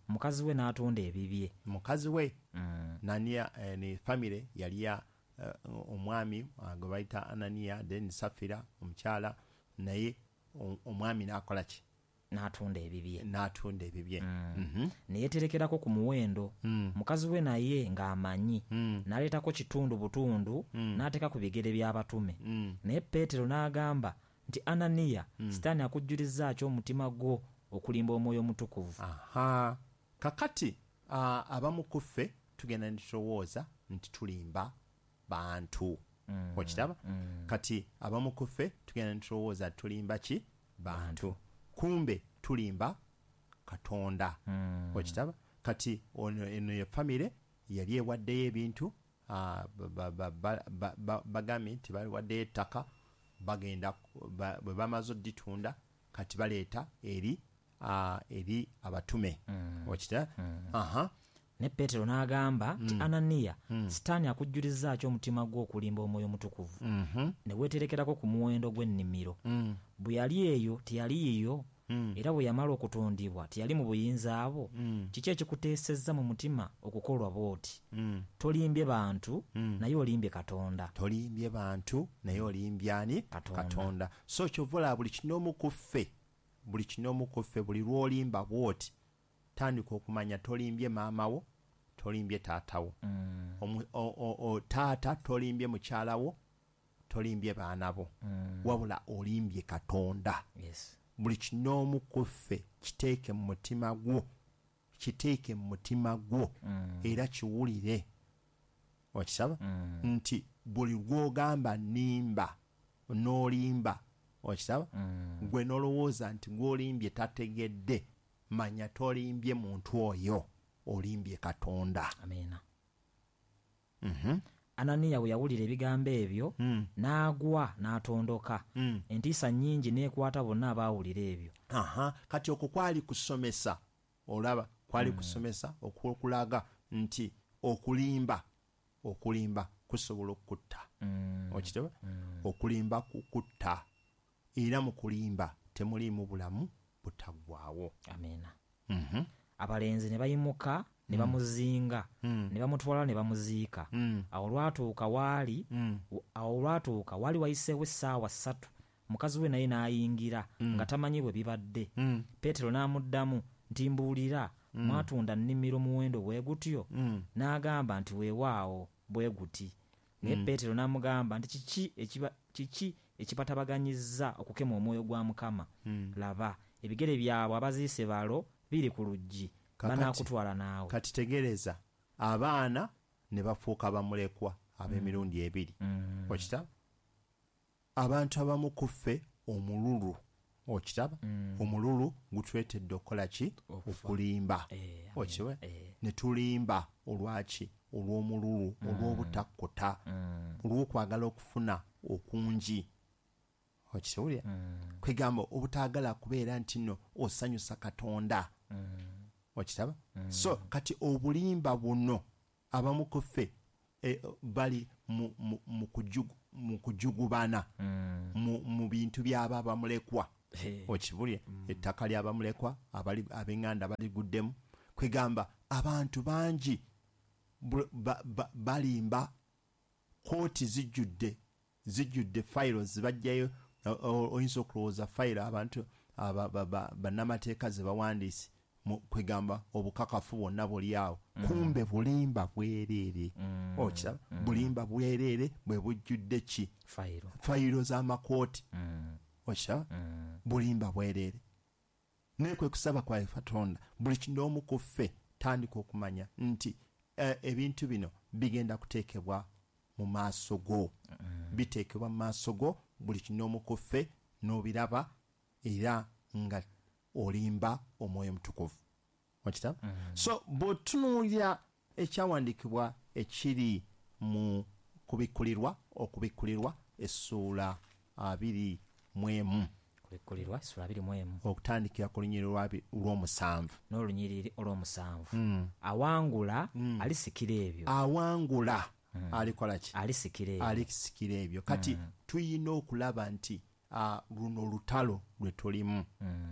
mukazi we n'atunda ebibye. Mukazi we Ananiya, ne famire yali ya omwami gwe bayita Ananiya, then Safira omukyala, naye omwami n'akola ki? N'atunda ebibye. N'atunda ebibye. Ne yeeterekerako ku muwendo. Mukazi we naye ng'amanyi, n'aleetako kitundu butundu, n'ateeka ku bigere by'abatume. Naye Peetero n'agamba nti Ananiya, Sitaani akujjulizza ki omutima gwo okulimba omwoyo omutukuvu? Aha. Kakati abamu ku ffe tugenda ne tulowooza nti tulimba bantu. Okiraba? Kati abamu ku ffe tugenda ne tulowooza tulimba ki? Bantu. Kumbe tulimba Katonda. Okiraba? Kati eno ye famire yali ewaddeyo ebintu, bagambye nti bawaddeyo ettaka, bagenda bwe bamaze odditunda kati baleeta eri abatume. Okiraba? Aha. Ne Peetero n'agamba nti Ananiya, Sitaani akujjulizza ki omutima gwo okulimba omwoyo omutukuvu? Ne weeterekerako ku muwendo gw'ennimiro. Bwe yali eyo teyali yiyo, era bwe yamala okutundibwa teyali mu buyinza bwo. Kiki ekikuteesezza mu mutima okukolwa bw'oti? Tolimbye bantu, naye olimbye Katonda. Tolimbye bantu, naye olimbye ani? Katonda. So kyova olaba buli kinoomu ku ffe, buli kinoomu ku ffe, buli lw'olimba bw'oti, tandika okumanya tolimbye maama wo, tolimbye taata wo. Taata tolimbye mukyala wo, tolimbye baana bo. Wabula olimbye Katonda. Yes. Buli kinoomu ku ffe kiteeke mu mutima gwo, kiteeke mu mutima gwo, era kiwulire. Okiraba? Nti buli lw'ogamba nnimba, n'olimba. Okiraba? Gwe n'olowooza nti gw'olimbye tategedde, manya tolimbye muntu oyo, olimbye Katonda. Amiina. Ananiya bwe yawulira ebigambo ebyo, n'agwa n'atondoka. Entiisa nnyingi n'ekwata bonna abaawulira ebyo. Aha, kati okwo kwali kusomesa. Olaba, kwali kusomesa okulaga nti okulimba kusobola okukutta. Okiraba? Okulimba kukutta. Era mu kulimba temuliimu bulamu butaggwaawo. Amiina. Abalenzi ne bayimuka ne bamuzinga, ne bamutwala ne bamuziika. Awo olwatuuka waali wayiseewo essaawa 3, mukazi we naye n'ayingira nga tamanyi bwe bibadde. Peetero n'amuddamu nti mbuulira, mwatunda nnimiro muwendo bwe gutyo? N'agamba nti weewaawo bwe guti. Naye Peetero n'amugamba nti kiki ekibatabaganyizza okukema omwoyo gwa Mukama? Laba, ebigere byabwe abaziise balo biri ku luggi, banaakutwala naawe. Kati tegereza, abaana ne bafuuka bamulekwa ab'emirundi ebiri. Okiraba? Abantu abamu ku ffe omululu. Okiraba? Omululu gutwetedde okukola ki? Okulimba. Okiraba? Ne tulimba olwaki? Olw'omululu, olw'obutakkuta, olw'okwagala okufuna okungi. Okiwulira? Kwegamba obutaagala kubeera nti nno osanyusa Katonda. Okiraba? So kati obulimba buno abamu ku ffe bali mu kujugubana mu bintu by'aba bamulekwa. Okibulye ettaka ly'abamulekwa ab'enganda baliguddemu. Kwegamba abantu bangi balimba, kooti zijjudde fayiro zibajjayo. Oyinza okulowooza fayiro abantu bannamateeka ze bawandiise, kwegamba obukakafu bwonna buli awo, kumbe bulimba bwereere. Okiraba? Bulimba bwereere bwe bujjudde ki? Fayiro z'amakooti. Okiraba? Bulimba bwereere. Naye kwe kusaba kwa Katonda buli kinoomu ku ffe tandika okumanya nti ebintu bino bigenda kuteekebwa mu maaso go. Biteekebwa mu maaso go buli kinoomu ku ffe n'obiraba, era nga olimba Omwoyo Mutukuvu. Okiraba? So bw'otunuulira ekyawandiikibwa ekiri mu Kubikkulirwa, Okubikkulirwa essuula 21. Kubikkulirwa essuula 21. Okutandikira ku lunyiriri lw'omusanvu. N'olunyiriri olw'omusanvu. Awangula alisikira ebyo. Awangula alikola ki? Alisikira ebyo. Alisikira ebyo. Kati tuyina okulaba nti luno lutalo lwe tulimu.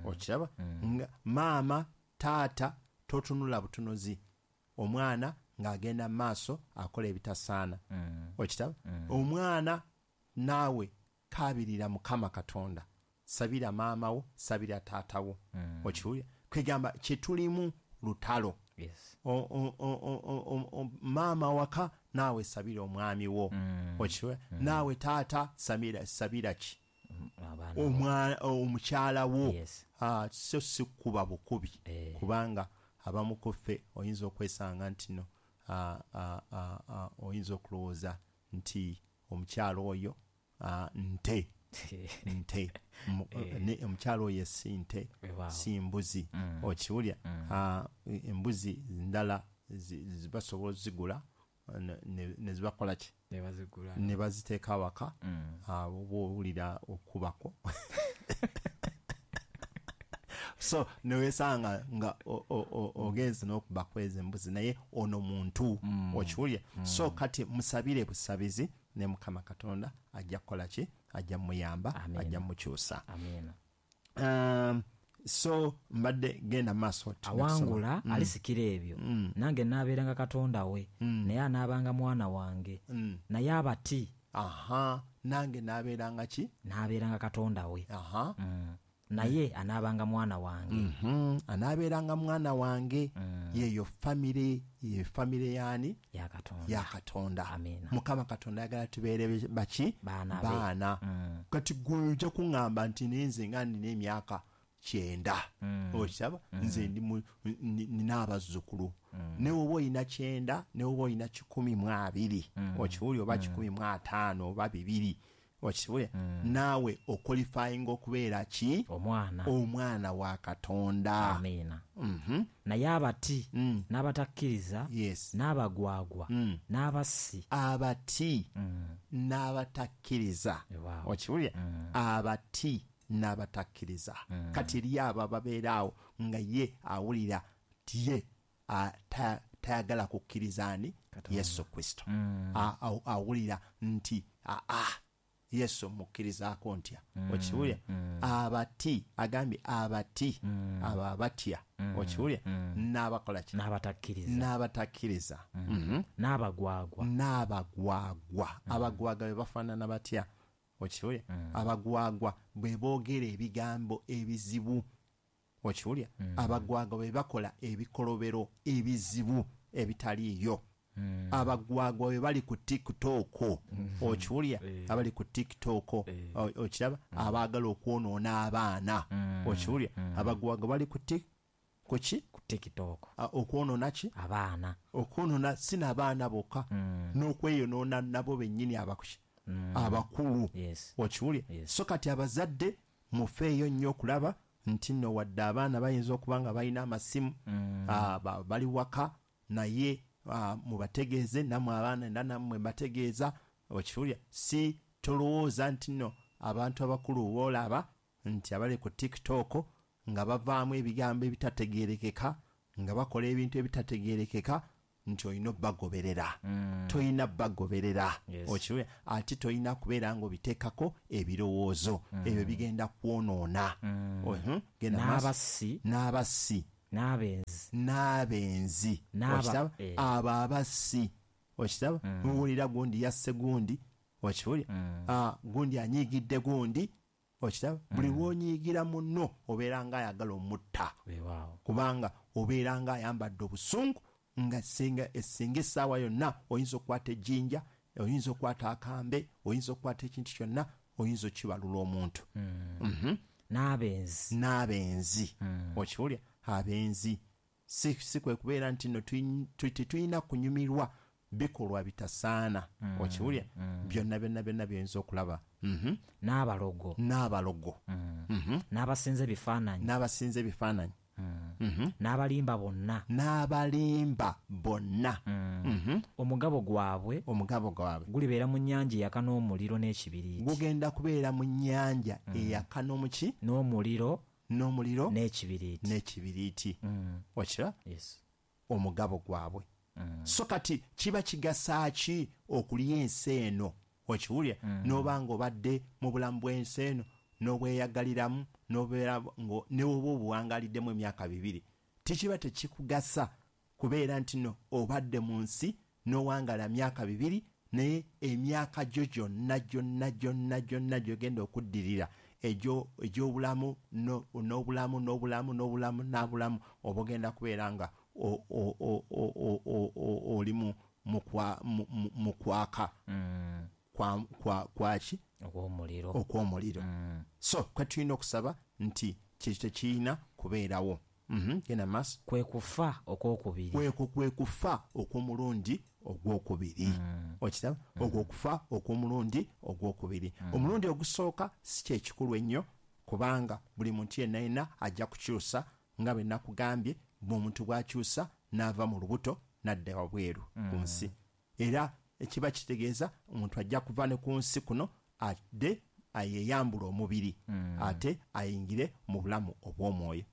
Okiraba? Nga maama, taata, totunula butunuzi omwana ng'agenda maaso akola ebitasaana. Okiraba? Omwana naawe kaabirira Mukama Katonda, sabira maama wo, sabira taata wo. Okiwulira? Kwegamba kye tulimu lutalo. Yes. Maama waka naawe sabira omwami wo. Okiwulira? Naawe taata sabira ki? Omukyala wo. Yes. So si kuba bukubi. Kubanga abamu ku ffe oyinza okwesanga nti no oyinza okulowooza nti omukyala oyo nte. Nte. Omukyala oyo si nte, si mbuzi. Okiwulira? Embuzi ndala basobola ozigula ne zibakola ki? Ne baziteeka awaka. Oba owulira okubako. So newesanga nga ogenze n'okuba kweza embuzi, naye ono muntu. Okiwulira? So kati musabire busabizi ne Mukama Katonda ajja kukola ki? Ajja muyamba, ajja mukyusa. Amina. So mbadde genda maaso. Awangula alisikira ebyo. Nange naabeeranga Katonda we, naye anaabanga mwana wange. Naye abati. Aha, nange naabeeranga ki? Naabeeranga Katonda we. Aha. Naye anaabanga mwana wange. Anaabeeranga mwana wange. Yeyo famire, ye famire yani? Ya Katonda. Ya Katonda. Amina. Mukama Katonda ayagala tubeere baki? Baana. Kati gwe ojja kuŋŋamba nti nze nga nnina emyaka 90. Okiraba? Nze nina abazzukulu. Ne woba olina 90, ne woba olina 120. Okiwulira? Oba 150 oba 200. Okiwulira? Naawe oqualifying okubeera ki? Omwana. Omwana wa Katonda. Amina. Naye abati, n'abatakkiriza, yes, n'abagwagwa, n'abassi. Abati, n'abatakkiriza. Wow. Okiwulira? Abati n'abatakkiriza. Kati eri abo ababeera awo nga ye awulira ye tayagala kukkiriza ani? Yesu Kristo. Awulira nti Yesu mukkirizaako ntya? Okiwulira? Abati, agambye abati, abo abatya. Okiwulira? N'abakola ki? N'abatakkiriza. N'abatakkiriza. N'abagwagwa. N'abagwagwa. Abagwagwa be bafaanana batya? Okiwulira? Abagwagwa bwe boogera ebigambo ebizibu. Okiwulira? Abagwagwa bwe bakola ebikolobero ebizibu ebitaliiyo. Abagwagwa bwe bali ku TikTok. Okiwulira? Abali ku TikTok. Okiraba? Abaagala okwonoona abaana. Okiwulira? Abagwagwa bali ku kuki? Ku TikTok. Okwonoona ki? Abaana. Okwonoona si n'abaana bokka, n'okweyonoona nabo bennyini abakulu. Yes. Okiwulira? Yes. So kati abazadde mufeeyo nnyo okulaba nti nno wadde abaana bayinza okuba nga balina amasimu, bali waka, naye mubategeeze, nammwe abaana era nammwe mbategeeza. Okiwulira? Si tolowooza nti nno abantu abakulu boolaba nti abali ku TikTok nga bavaamu ebigambo ebitategeerekeka, nga bakola ebintu ebitategeerekeka nti olina obbagoberera. Toyina bagoberera. Okiwulira? Ate toyina kubeera ng'obiteekako ebirowoozo. Ebyo bigenda kwonoona. N'abassi. N'abassi. N'abenzi. N'abenzi. Okiraba? Abo abassi. Okiraba? Muwulira gundi yasse gundi. Okiwulira? Gundi anyiigidde gundi. Okiraba? Buli lw'onyiigira munno obeera ng'ayagala omutta. Kubanga obeera ng'ayambadde obusungu nga singa essaawa yonna oyinza okukwata ejjinja, oyinza okukwata akambe, oyinza okukwata ekintu kyonna, oyinza okibalula omuntu. N'abenzi. N'abenzi. Okiwulira? Abenzi. Si kwe kubeera nti nno tetulina kunyumirwa bikolwa bitasaana. Okiwulira? Byonna byonna byonna by'oyinza okulaba. N'abalogo. N'abalogo. N'abasinza ebifaananyi. N'abasinza ebifaananyi. N'abalimba bonna. N'abalimba bonna. Omugabo gwabwe. Omugabo gwabwe gulibeera mu nnyanja eyaka n'omuliro n'ekibiriiti. Gugenda kubeera mu nnyanja eyaka n'omuki? N'omuliro. N'omuliro n'ekibiriiti. N'ekibiriiti. Okiraba? Yes. Omugabo gwabwe. So kati kiba kigasa ki okulya ensi eno? Okiwulira? N'oba ng'obadde mu bulamu bw'ensi eno n'obweyagaliramu n'obeera ne woba obuwangaliddemu emyaka 2, tekiba tekikugasa kubeera nti no obadde mu nsi n'owangala myaka 2, naye emyaka gyo gyonna gyonna gyonna gyonna gy'ogenda okuddirira egy'obulamu n'obulamu n'obulamu n'obulamu n'abulamu oba ogenda kubeera nga oli mu kwaka kwaki? Okw'omuliro. Okw'omuliro. So kwe tulina okusaba nti kye tekirina kubeerawo. Genda maaso. Kwe kufa okwokubiri. Kwe kufa okw'omulundi ogwokubiri. Okiraba? Ogw'okufa okw'omulundi ogwokubiri. Omulundi ogusooka si kye kikulu ennyo, kubanga buli muntu yenna yenna ajja kukyusa nga bwe nakugambye, bw'omuntu bw'akyusa n'ava mu lubuto n'adda wabweru ku nsi. Era ekiba kitegeeza omuntu ajja kuva ne ku nsi kuno adde ayeyambula omubiri, ate ayingire mu bulamu obw'omwoyo.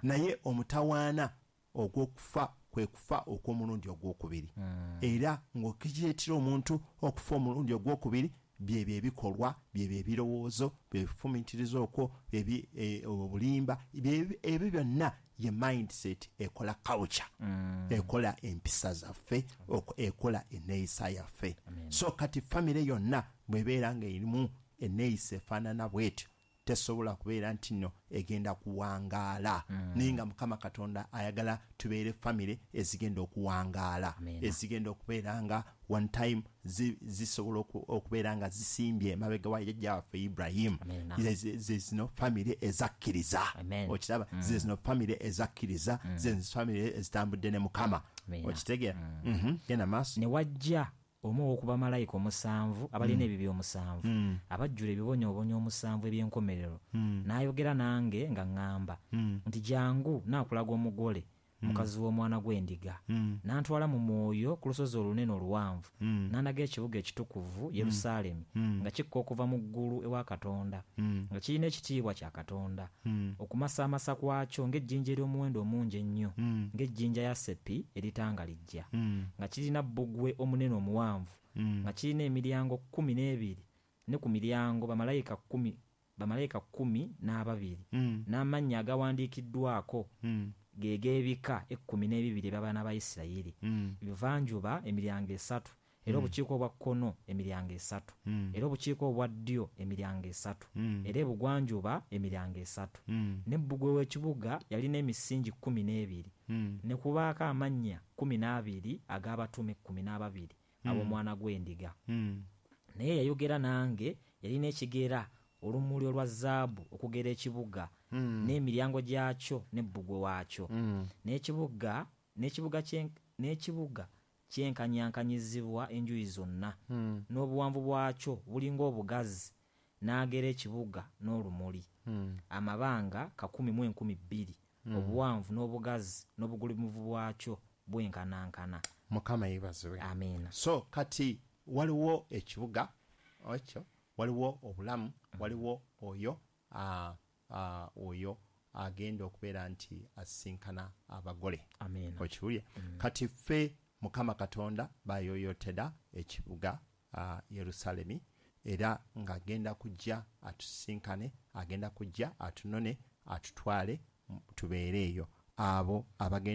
Naye omutawaana ogw'okufa kwe kufa okw'omulundi ogwokubiri. Era ng'okireetera omuntu okufa omulundi ogwokubiri, byebyo ebikolwa, byebyo ebirowoozo, byebifumiitiriza okwo, obulimba, ebyo byonna ye mindset ekola culture, ekola empisa zaffe, ekola enneeyisa yaffe. So kati famire yonna bw'ebeera ng'erimu enneeyisa efaanana bw'etyo, tesobola kubeera nti nno egenda kuwangaala. Naye nga Mukama Katonda ayagala tubeere famire ezigenda okuwangaala, ezigenda okubeera nga one time zisobola okubeera nga zisimbye emabega wa jjajja waffe Ibrahim. Ze zino famire ezakkiriza. Okiraba? Ze zino famire ezakkiriza, ze zino famire ezitambudde ne Mukama. Okitegeera? Genda maaso. Ne wajja omu ow'oku bamalayika 7 abalina ebibi 7, abajjula ebibonyoobonyo 7 eby'enkomerero, n'ayogera nange nga ŋŋamba nti jangu naakulaga omugole, mukazi w'omwana gw'endiga. N'antwala mu mwoyo ku lusozi olunene oluwanvu, n'andaga ekibuga ekitukuvu Yerusaalemi, nga kikka okuva mu ggulu ewa Katonda, nga kirina ekitiibwa kya Katonda. Okumasaamasa kwakyo ng'ejjinja ery'omuwendo omungi ennyo, ng'ejjinja yasepi eritangalijja, nga kirina bbugwe omunene omuwanvu, nga kirina emiryango 12, ne ku miryango bamalayika 12, n'amannya agawandiikiddwako ge g'ebika 12 eby'abaana ba Isirayiri. Ebuvanjuba emiryango 3, era obukiika obwa kkono emiryango 3, era obukiika obwa ddyo emiryango 3, era ebugwanjuba emiryango 3. Ne bbugwe w'ekibuga yalina emisingi 12, ne kubaako amannya 12 ag'abatume 12 ab'omwana gw'endiga. Naye yayogera nange, yalina ekigera olumuli olwa zaabu okugera ekibuga, n'emiryango gyakyo ne bbugwe waakyo. N'ekibuga kyenkanyankanyizibwa enjuyi zonna, n'obuwanvu bwakyo bulinga obugazi, n'agera ekibuga n'olumuli. Amabanga 1,000 2,000, obuwanvu n'obugazi n'obugulumivu bwakyo bwenkanankana. Mukama yeebazibwe. Amiina. So kati waliwo ekibuga ekyo, waliwo obulamu, waliwo oyo oyo Agenda okubeera nti asisinkana abagole. Amiina. Okiwulye? Kati ffe Mukama Katonda bayoyotera ekibuga Yerusalemi, era ng'agenda kujja atusisinkane, agenda kujja atunone, atutwale tubeere eyo, abo abagenda.